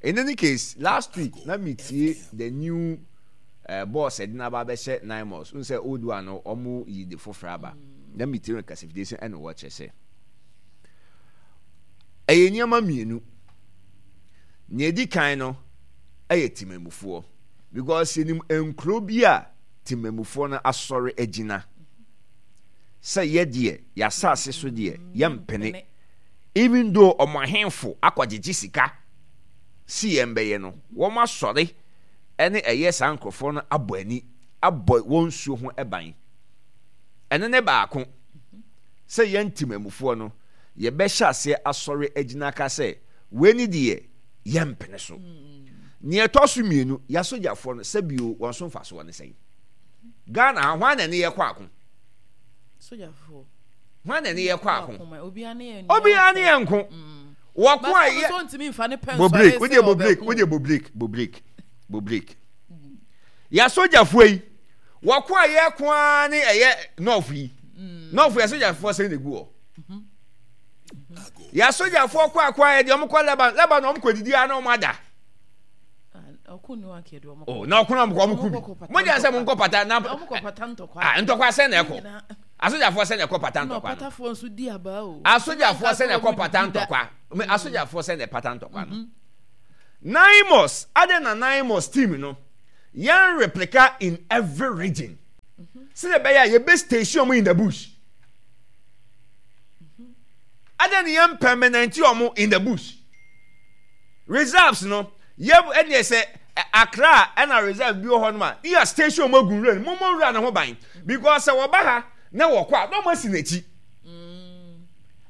In any case, last week na metie the new uh, boss ɛde n'aba abɛhyɛ NAIMOS n sɛ old one no ɔmo yi de foforɔ aba. Na metie no kasafidie sɛ ɛna wɔkyerɛ sɛ ɛyɛ nneɛma mmienu. Nea edi kan no ɛyɛ temamufoɔ, because yɛnim nkuro bi a temamufoɔ no asɔre agyina sɛ yɛdeɛ yɛasase so deɛ yɛmpene, even though ɔmo ahemfo akɔgyegye sika si yɛn bɛyɛ no, wɔn asɔre ɛne ɛyɛ saa nkurɔfoɔ no abɔ ani abɔ wɔn nsuo ho ban. Ɛno ne baako sɛ yɛn temamufoɔ no yɛbɛhyɛ aseɛ asɔre agyina ka sɛ wei ne deɛ yɛmpene so. Nea ɛtɔ so mmienu, yɛasogyafoɔ no, sɛbio wɔn so mfasoɔ ne sɛn? Ghana ha, hwan na ne yɛkɔ ako? Sogyafoɔ. Hwan na ne yɛkɔ ako? Obiara ne yɛn. Obiara ne yɛn nko. Wɔko a yɛ so ntumi nfa ne pɛn. Bɔ break, wodeɛ bɔ break, wodeɛ bɔ break, bɔ break, bɔ break. Yɛasogyafoɔ yi, wɔko a yɛko ara ne ɛyɛ nɔɔfo yi. Nɔɔfo yɛasogyafoɔ sɛn na egu hɔ? Yɛasogyafoɔ kɔ ako a yɛde wɔn kɔ Lebanon, Lebanon wɔn kɔ didi a na wɔn ada. Oh, na ɔko na ɔmo kɔ ɔmo ku bi. Mo gya sɛ mo nkɔ pata na ah ntɔkwa sɛ na ɛkɔ. Asogyafoɔ sɛ na ɛkɔ pata ntɔkwa no. Asogyafoɔ sɛ na ɛkɔ pata ntɔkwa. Asogyafoɔ sɛ na ɛpata ntɔkwa no. Naimos, adɛn na Naimos team no yɛn replica in every region. Sɛdeɛ ɛbɛyɛ a yɛbɛ station ɔmo in the bush. Adɛn na yɛn permanent ɔmo in the bush. Reserves no yɛ ɛdeɛ sɛ Accra ɛna reserve bi wɔ hɔ nom a yɛ station ɔmo agu nwura no mo mo nwura no ho ban because sɛ wɔba ha na wɔkɔ a na ɔmo asi n'akyi.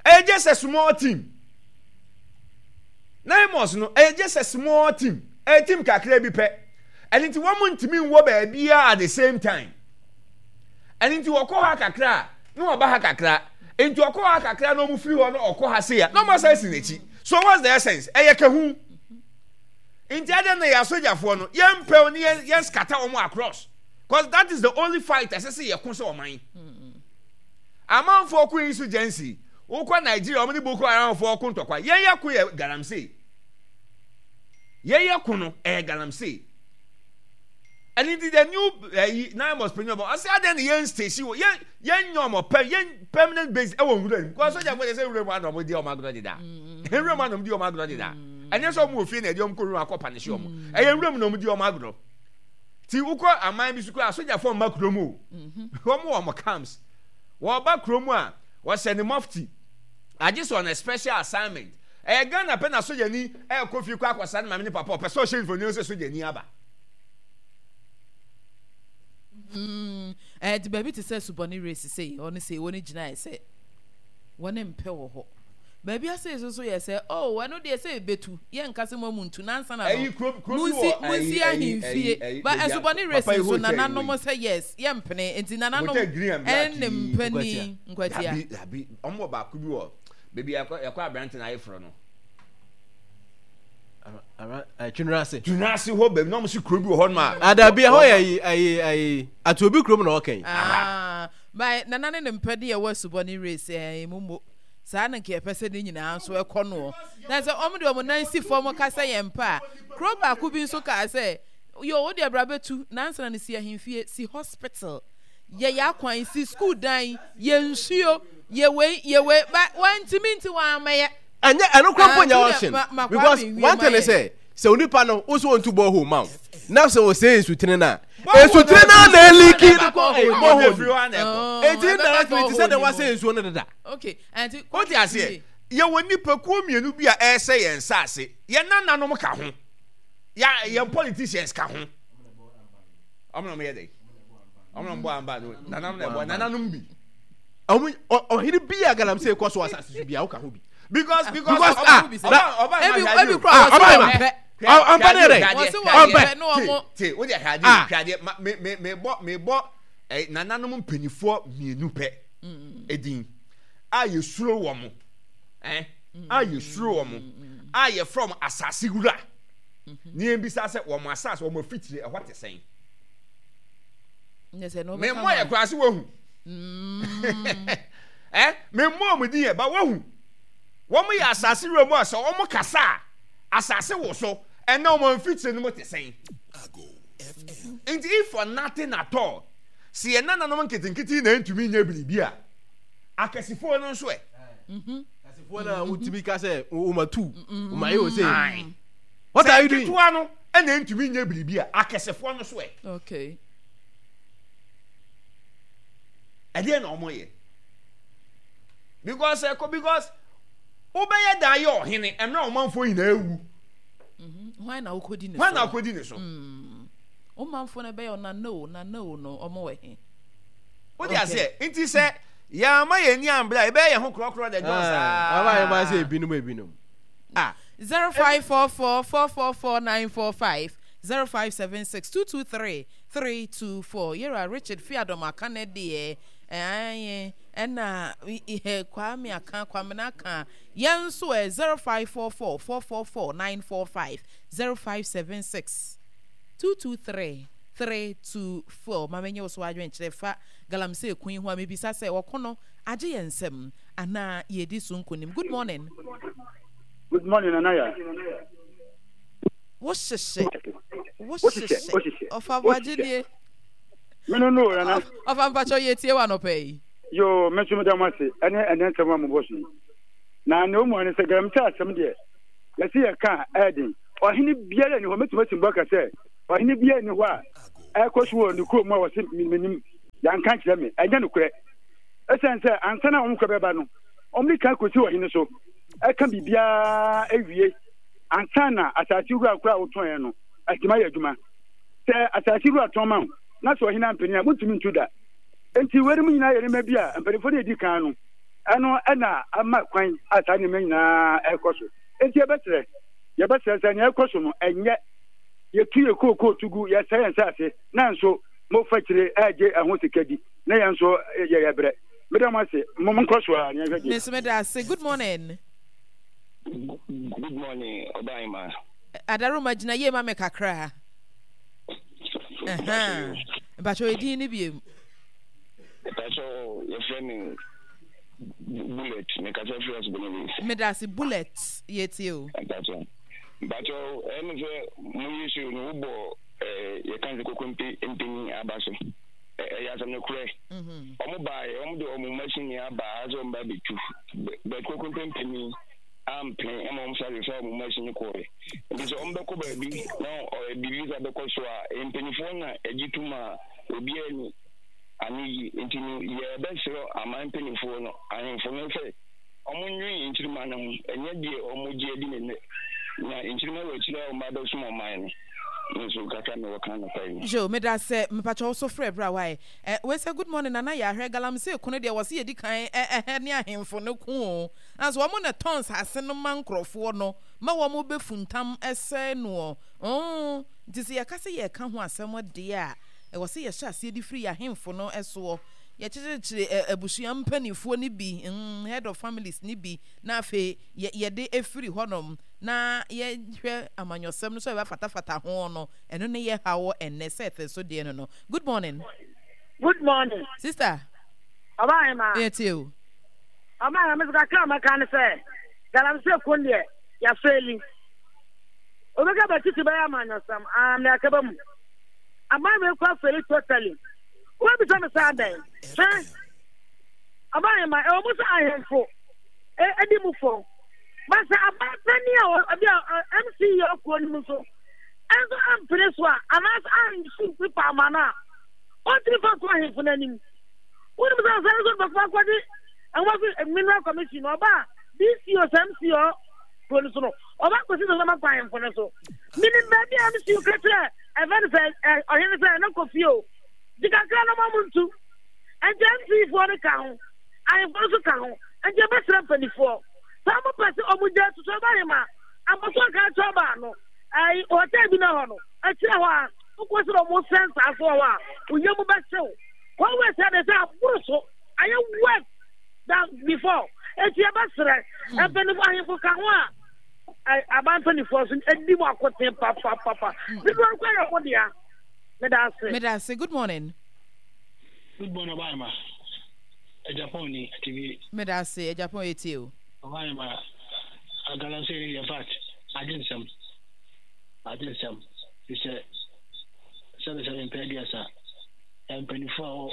Ɛyɛ just a small team. Naimos no ɛyɛ just a small team. Ɛyɛ team kakra bi pɛ. Ɛno nti wɔn ntumi nwɔ baabiara at the same time. Ɛno nti wɔkɔ ha kakra a na wɔba ha kakra. Nti ɔkɔ ha kakra na wɔn firi hɔ na ɔkɔ ha sei a na wɔn asan si n'akyi. So what's the essence? Ɛyɛ kahu. Nti adɛn na yɛ asogyafoɔ no yɛn mpɛw ne yɛn yɛn scatter wɔn across. Cause that is the only fight ɛsɛ sɛ yɛko sɛ ɔman. Amanfoɔ ko insurgency. Wokɔ Nigeria wɔn ne Boko Haram foɔ ko ntɔkwa. Yɛn yɛ ko yɛ galamsey. Yɛn yɛ ko no ɛyɛ galamsey. Ɛne nti the new ɛyi nine months panyin ɔbɔ ɔsɛ adɛn na yɛn station wɔ yɛn yɛn nyɛ ɔmɔ pɛ yɛn permanent base ɛwɔ nwura mu because sɔjà fo de sɛ nwura mu ana ɔmo di ɔmo agorɔ deda nwura mu ana ɔmo di ɔmo agorɔ deda ɛnyɛ sɛ ɔmo wɔ fie na ɛde ɔmo kɔ nwura akɔ panisi ɔmo ɛyɛ nwura mu na ɔmo di ɔmo agorɔ ti wokɔ aman bi so kɔ asogyafoɔ mma kurom o wɔn wɔ ɔmo camps wɔba kurom a wɔhyɛ ne mufti agye sɛ on a special assignment ɛyɛ Ghana pɛ na sogyani ɛkɔ fie kɔ akɔsa ne maame ne papa ɔpɛ sɛ ɔhyɛ mfoni sɛ sogyani aba. Mm, ɛde baabi te sɛ subɔne race sei ɔno sei wɔn gyinaeɛ sɛ wɔn mpɛ wɔ hɔ baabi ase nso so yɛ sɛ oh ɛno deɛ sɛ ebetu yɛ nka sɛ mo amu ntu nansa na no munsi munsi ahemfie ba ɛsubɔne race nso nananom sɛ yes yɛ mpene nti nananom ɛne mpani nkwatia. Dabi dabi wɔn wɔ baako bi wɔ baabi yɛkɔ yɛkɔ aberante na ayeforo no. Twunase. Twunase hɔ baabi na wɔn si kuro bi wɔ hɔ nom a. Adabi ɛhɔ yɛ ayi ayi ayi atuobi kurom na ɔkɛn. Aa ba nana ne ne mpɛ de ɛwɔ asubɔne race ɛɛ emu mo saa na nka yɛpɛ sɛ ne nyinaa nso ɛkɔ noɔ na sɛ wɔn de wɔn nan si fam ka sɛ yɛn mpa a kuro baako bi nso kaa sɛ yo wo deɛ bra bɛtu nansa na ne si ahemfie si hospital yɛ yɛ akwan si school dan yɛ nsuo yɛ wei yɛ wei ba wɔntumi nti wɔn amɛyɛ. Ɛnyɛ ɛno kora mpo nyɛ option because one thing is sɛ sɛ onipa no wo so ɔntu borehole ma wo na sɛ ɔsɛe nsutene no a nsutene no na ɛliki no kɔ borehole eti indirectly ti sɛ deɛ wasɛ nsuo no deda. Wote aseɛ yɛwɔ nipakuo mmienu bi a ɛresɛ yɛn nsaase yɛn nananom ka ho yɛn politicians ka ho ɔmo na ɔmo yɛ dɛ ɔmo na ɔmo bɔ amba no nananom na ɛbɔ nananom bi. Ɔmo ɔhene bi a galamsey kɔ so asase so bi a woka ho bi. Because because because ah ɔba ebi ebi kura wɔsi wɔn pɛ. Ɔmpɛ ne yɛrɛ ɔmpɛ. Te o de hwɛ adeɛ hwɛ adeɛ ma me me me bɔ me bɔ ɛ nananom mpanyinfoɔ mmienu pɛ edin a yɛsuro wɔn ɛ a yɛsuro wɔn a yɛfrɛ wɔn asase wura ne yɛn bisa sɛ wɔn asase wɔn afitire ɛhɔ te sɛn. Me mmɔ yɛ koraa se wɔhu. Eh, me mmɔ wɔn din yɛ, ba wɔhu. Wɔn yɛ asase wura mu a sɛ wɔn kasa a, asase wo so, ɛnna wɔn mfitire no mu te sɛn. Nti if for nothing at all, sɛ yɛn nananom nketenkete na ntumi nyɛ biribi a, akɛsefoɔ no nso ɛ. Akɛsefoɔ no a wotumi ka sɛ wɔn atu, wɔn ayɛ wɔ sɛ. What are you doing? Sɛ nketewa no na ntumi nyɛ biribi a, akɛsefoɔ no nso ɛ. Okay. Ɛdeɛ na wɔn yɛ. Because ɛkɔ because wobɛyɛ dan yɛ ɔhene ɛmɛ ɔmanfoɔ nyinaa ewu. Mhm. Hwan na wokɔdi ne so? Hwan na wokɔdi ne so? Mm. Ɔmanfoɔ no bɛyɛ ɔnana o nana o no ɔmo wɔ he? Wode aseɛ nti sɛ yɛama yɛn ani ambrɛ a yɛbɛyɛ yɛn ho korɔkorɔ dɛ John saa. Ɔba yɛn ba sɛ ebinom ebinom. Ah. Zero five four four four four four nine four five zero five seven six two two three three two four Yɛwura Richard Fiadom aka ne deɛ ɛɛ ɛna ihe Kwame aka Kwamena aka yɛn nso ɛ zero five four four four four four nine four five zero five seven six two two three three two four ma menye wo so adwenkyerɛ fa galamsey ko yi ho a mebisa sɛ ɔko no agye yɛn nsam anaa yɛredi so nkonim. Good morning. Good morning, Nanaya. Wo hyehye. Wohyehyɛ, wohyehyɛ. Ɔfa boagye nie. Me no no nana. Ɔfa mpakyɛ yɛ tie wa nɔpɛ yi. Yoo, me nso meda mo ase ɛne ɛnɛ nsɛm a mobɔ so yi. Na nea ɔmu ne sɛ galamsey asɛm deɛ yɛse yɛka a ɛyɛ den. Ɔhene biara nni hɔ, mɛtumi asi mbɔ aka sɛ ɔhene biara nni hɔ a ɛkɔ so wɔ ne kurom a wɔse menim, yɛanka nkyerɛ me. Ɛnyɛ nokorɛ. Ɛsiane sɛ ansa na wɔn kɔ bɛba no, wɔn de kan kɔsi ɔhene so ɛka biribiara awie ansa na asase wura koraa a wotɔn no atumi ayɛ adwuma. Sɛ asase wura tɔn ma wo na sɛ ɔhene ampene a, montumi ntu da. Enti weinom nyinaa yɛ nneɛma bi a mpanimfoɔ no edi kan no, ɛno ɛna ama kwan a saa nneɛma nyinaa ɛrekɔ so. Enti yɛbɛsrɛ, yɛbɛsrɛ sɛ nea ɛrekɔ so no ɛnyɛ yɛtu yɛ kookoo to gu, yɛsɛe yɛn nsase, nanso mofa akyire ɛregye ɛho sika di, na yɛn nso yɛyɛ brɛ. Meda mo ase, mo nkɔ so ara na yɛnhwɛ deɛ. Me nso meda ase. Good morning. Good morning, Ɔbaa Adaroma gyina yie ma me kakra. Mpakyɛ edin ne biem. Mpakyɛ yɛfrɛ me Bullet, mekasa firi Asubɔnten. Meda ase Bullet, yɛtie o. Mpakyɛ mpakyɛ ɛne sɛ moyɛ show no wobɔ yɛka sɛ kokompe mpanyin aba so ɛyɛ asɛm no korɛ. Ɔmo baeɛ ɔmo de ɔmo machine aba ha sɛ ɔmo ba bɛtu bɛ kokompe mpanyin ampene ɛma ɔmo sa fa ɔmo machine kɔɛ. Nti sɛ ɔmo bɛkɔ baabi na biribi sa bɛkɔ so a mpanyinfoɔ na ɛgye tom a obiara ni ano yi. Nti no yɛbɛsrɛ aman mpanyinfoɔ no ahemfo no sɛ ɔmo nwen nkyirima no ho, ɛnyɛ deɛ ɔmo gye adi ne nnɛ na nkyirima wɔ akyire a ɔmo abɛsom ɔman no. Nso kakra mi wɔ kan nɔpa yi. Jo, meda sɛ mepakyɛ wo so frɛ berɛ a wae. Eh, wei sɛ good morning Nana Yahwɛ, galamsey ko no deɛ wɔ se yɛdi kan eh, eh, ne ahemfo no ko o. Nanso wɔn na ɛtɔn nsase no ma nkurɔfoɔ no ma wɔn bɛfuntam sɛe noɔ. Oh, nti sɛ yɛka sɛ yɛreka ho asɛm deɛ a, ɛwɔ sɛ yɛhyɛ aseɛ de firi yɛn ahemfo no soɔ. Yɛkyekyere abusua mpanimfoɔ no bi, mm, head of families no bi, na afei yɛde firi hɔnom na yɛhwɛ amanyɔsɛm no so a yɛbɛfatafata ho no, ɛno ne yɛ haw ɛnnɛ sɛ ɛfɛ so deɛ no no. Good morning. Good morning. Sister. Ɔbaa Yɛ tie o. Ɔbaa hema, kakra a mɛka ne sɛ, galamsey ko deɛ, yɛafeeli. Obɛka bɛtiti bɛyɛ amanyɔsɛm, ah, mmerɛ akaba mu. Aban wei kɔ afeeli totally. Wobɛbisa me sɛ adɛn? Hwɛ, ɔbaa hema, ɛwɔ mu sɛ ahemfo ɛdi mu fɔ. Ba sɛ aban panin a ɔbi a M C yɛ ɔkuo no mu nso, ɛnso ampene so a, anaasɛ ansi pepa ama no a, ɔntumi fa nto ahemfo no anim. Wonim sɛ ɔsane nso bɛkɔ akɔgye ɛnwa so Mineral Commission ɔba a D C O sɛ M C O kuro no so no, ɔba akɔsi sɛ ɔbɛkɔ ahemfo no so. Menim baabi a M C O ka kyerɛ ɛfɛ no sɛ ɔhene sɛ ɛno kɔ fie o, gye kakra no ma mo ntu. Ɛnti M C foɔ no ka ho, ahemfo no nso ka ho. Ɛnti ɛbɛsrɛ mpanimfoɔ sɛ ɔmo pɛ sɛ ɔmo gya tutu ɔba ahema abɔso aka akyerɛ ɔbaa no ɛyi hotel bi na hɔ no akyerɛ hɔ a wokɔ sɛ ɔmo sɛn saa so wɔ hɔ a oyɛ mu bɛhyew kɔwé sɛ de sɛ aboro so ayɛ worse than before. Eti ɛbɛsrɛ mpanimfoɔ ahemfo ka ho a aban mpanimfoɔ so edi mu akoten papapapa dodoɔ no kɔ yɛ ɔmo dea. Meda ase. Meda ase. Good morning. Good morning, ɔbaa ma. Japan ni T V. Meda ase, Japan etie o. Ɔbaa ma galamsey ni in fact agye nsɛm agye nsɛm fi sɛ sɛbe sɛbe mpɛ aduasa mpanyinfoɔ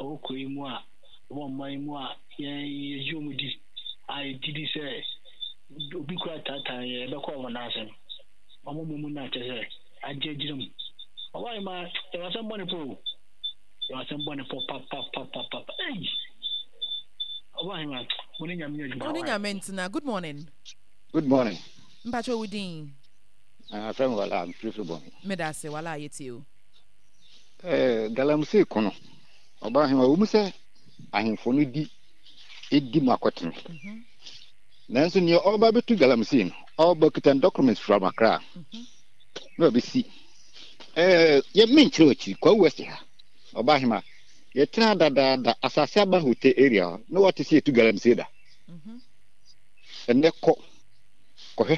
a wɔwɔ kuro yi mu a wɔwɔ ɔman yi mu a yɛn yɛgye wɔn di a yɛgye di sɛ obi kura taataa yɛn yɛbɛkɔ wɔn nan ase no wɔn mu mu na kyɛ sɛ agye agyina mu ɔbaa yi ma yɛwɔ asɛm bɔne po o. Yɛwɔ asɛm bɔne po papapapapa ei ɔbaa yi ma mo ne nyame adwuma. Mo ne nyame ntena. Good morning. Good morning. Mpakyɛ wo din? Ah, frɛ me Wala, mfirifiri bɔ me. Meda ase, Wala, yɛtie o. Eh, galamsey ko no, ɔbaa hema, wɔ mu sɛ ahemfo no di edi mu akɔtene. Mm-hmm. Nanso nea ɔba bɛtu galamsey no, ɔba kita documents from Accra. Mm-hmm. Na ɔbɛsi. Eh, yɛ menkyerɛ akyiri, Kwawu West ha, ɔbaa hema, yɛtena dadaada asase aba hotel area hɔ, na wɔte sɛ yɛtu galamsey da. Mm-hmm. Ɛnɛ kɔ.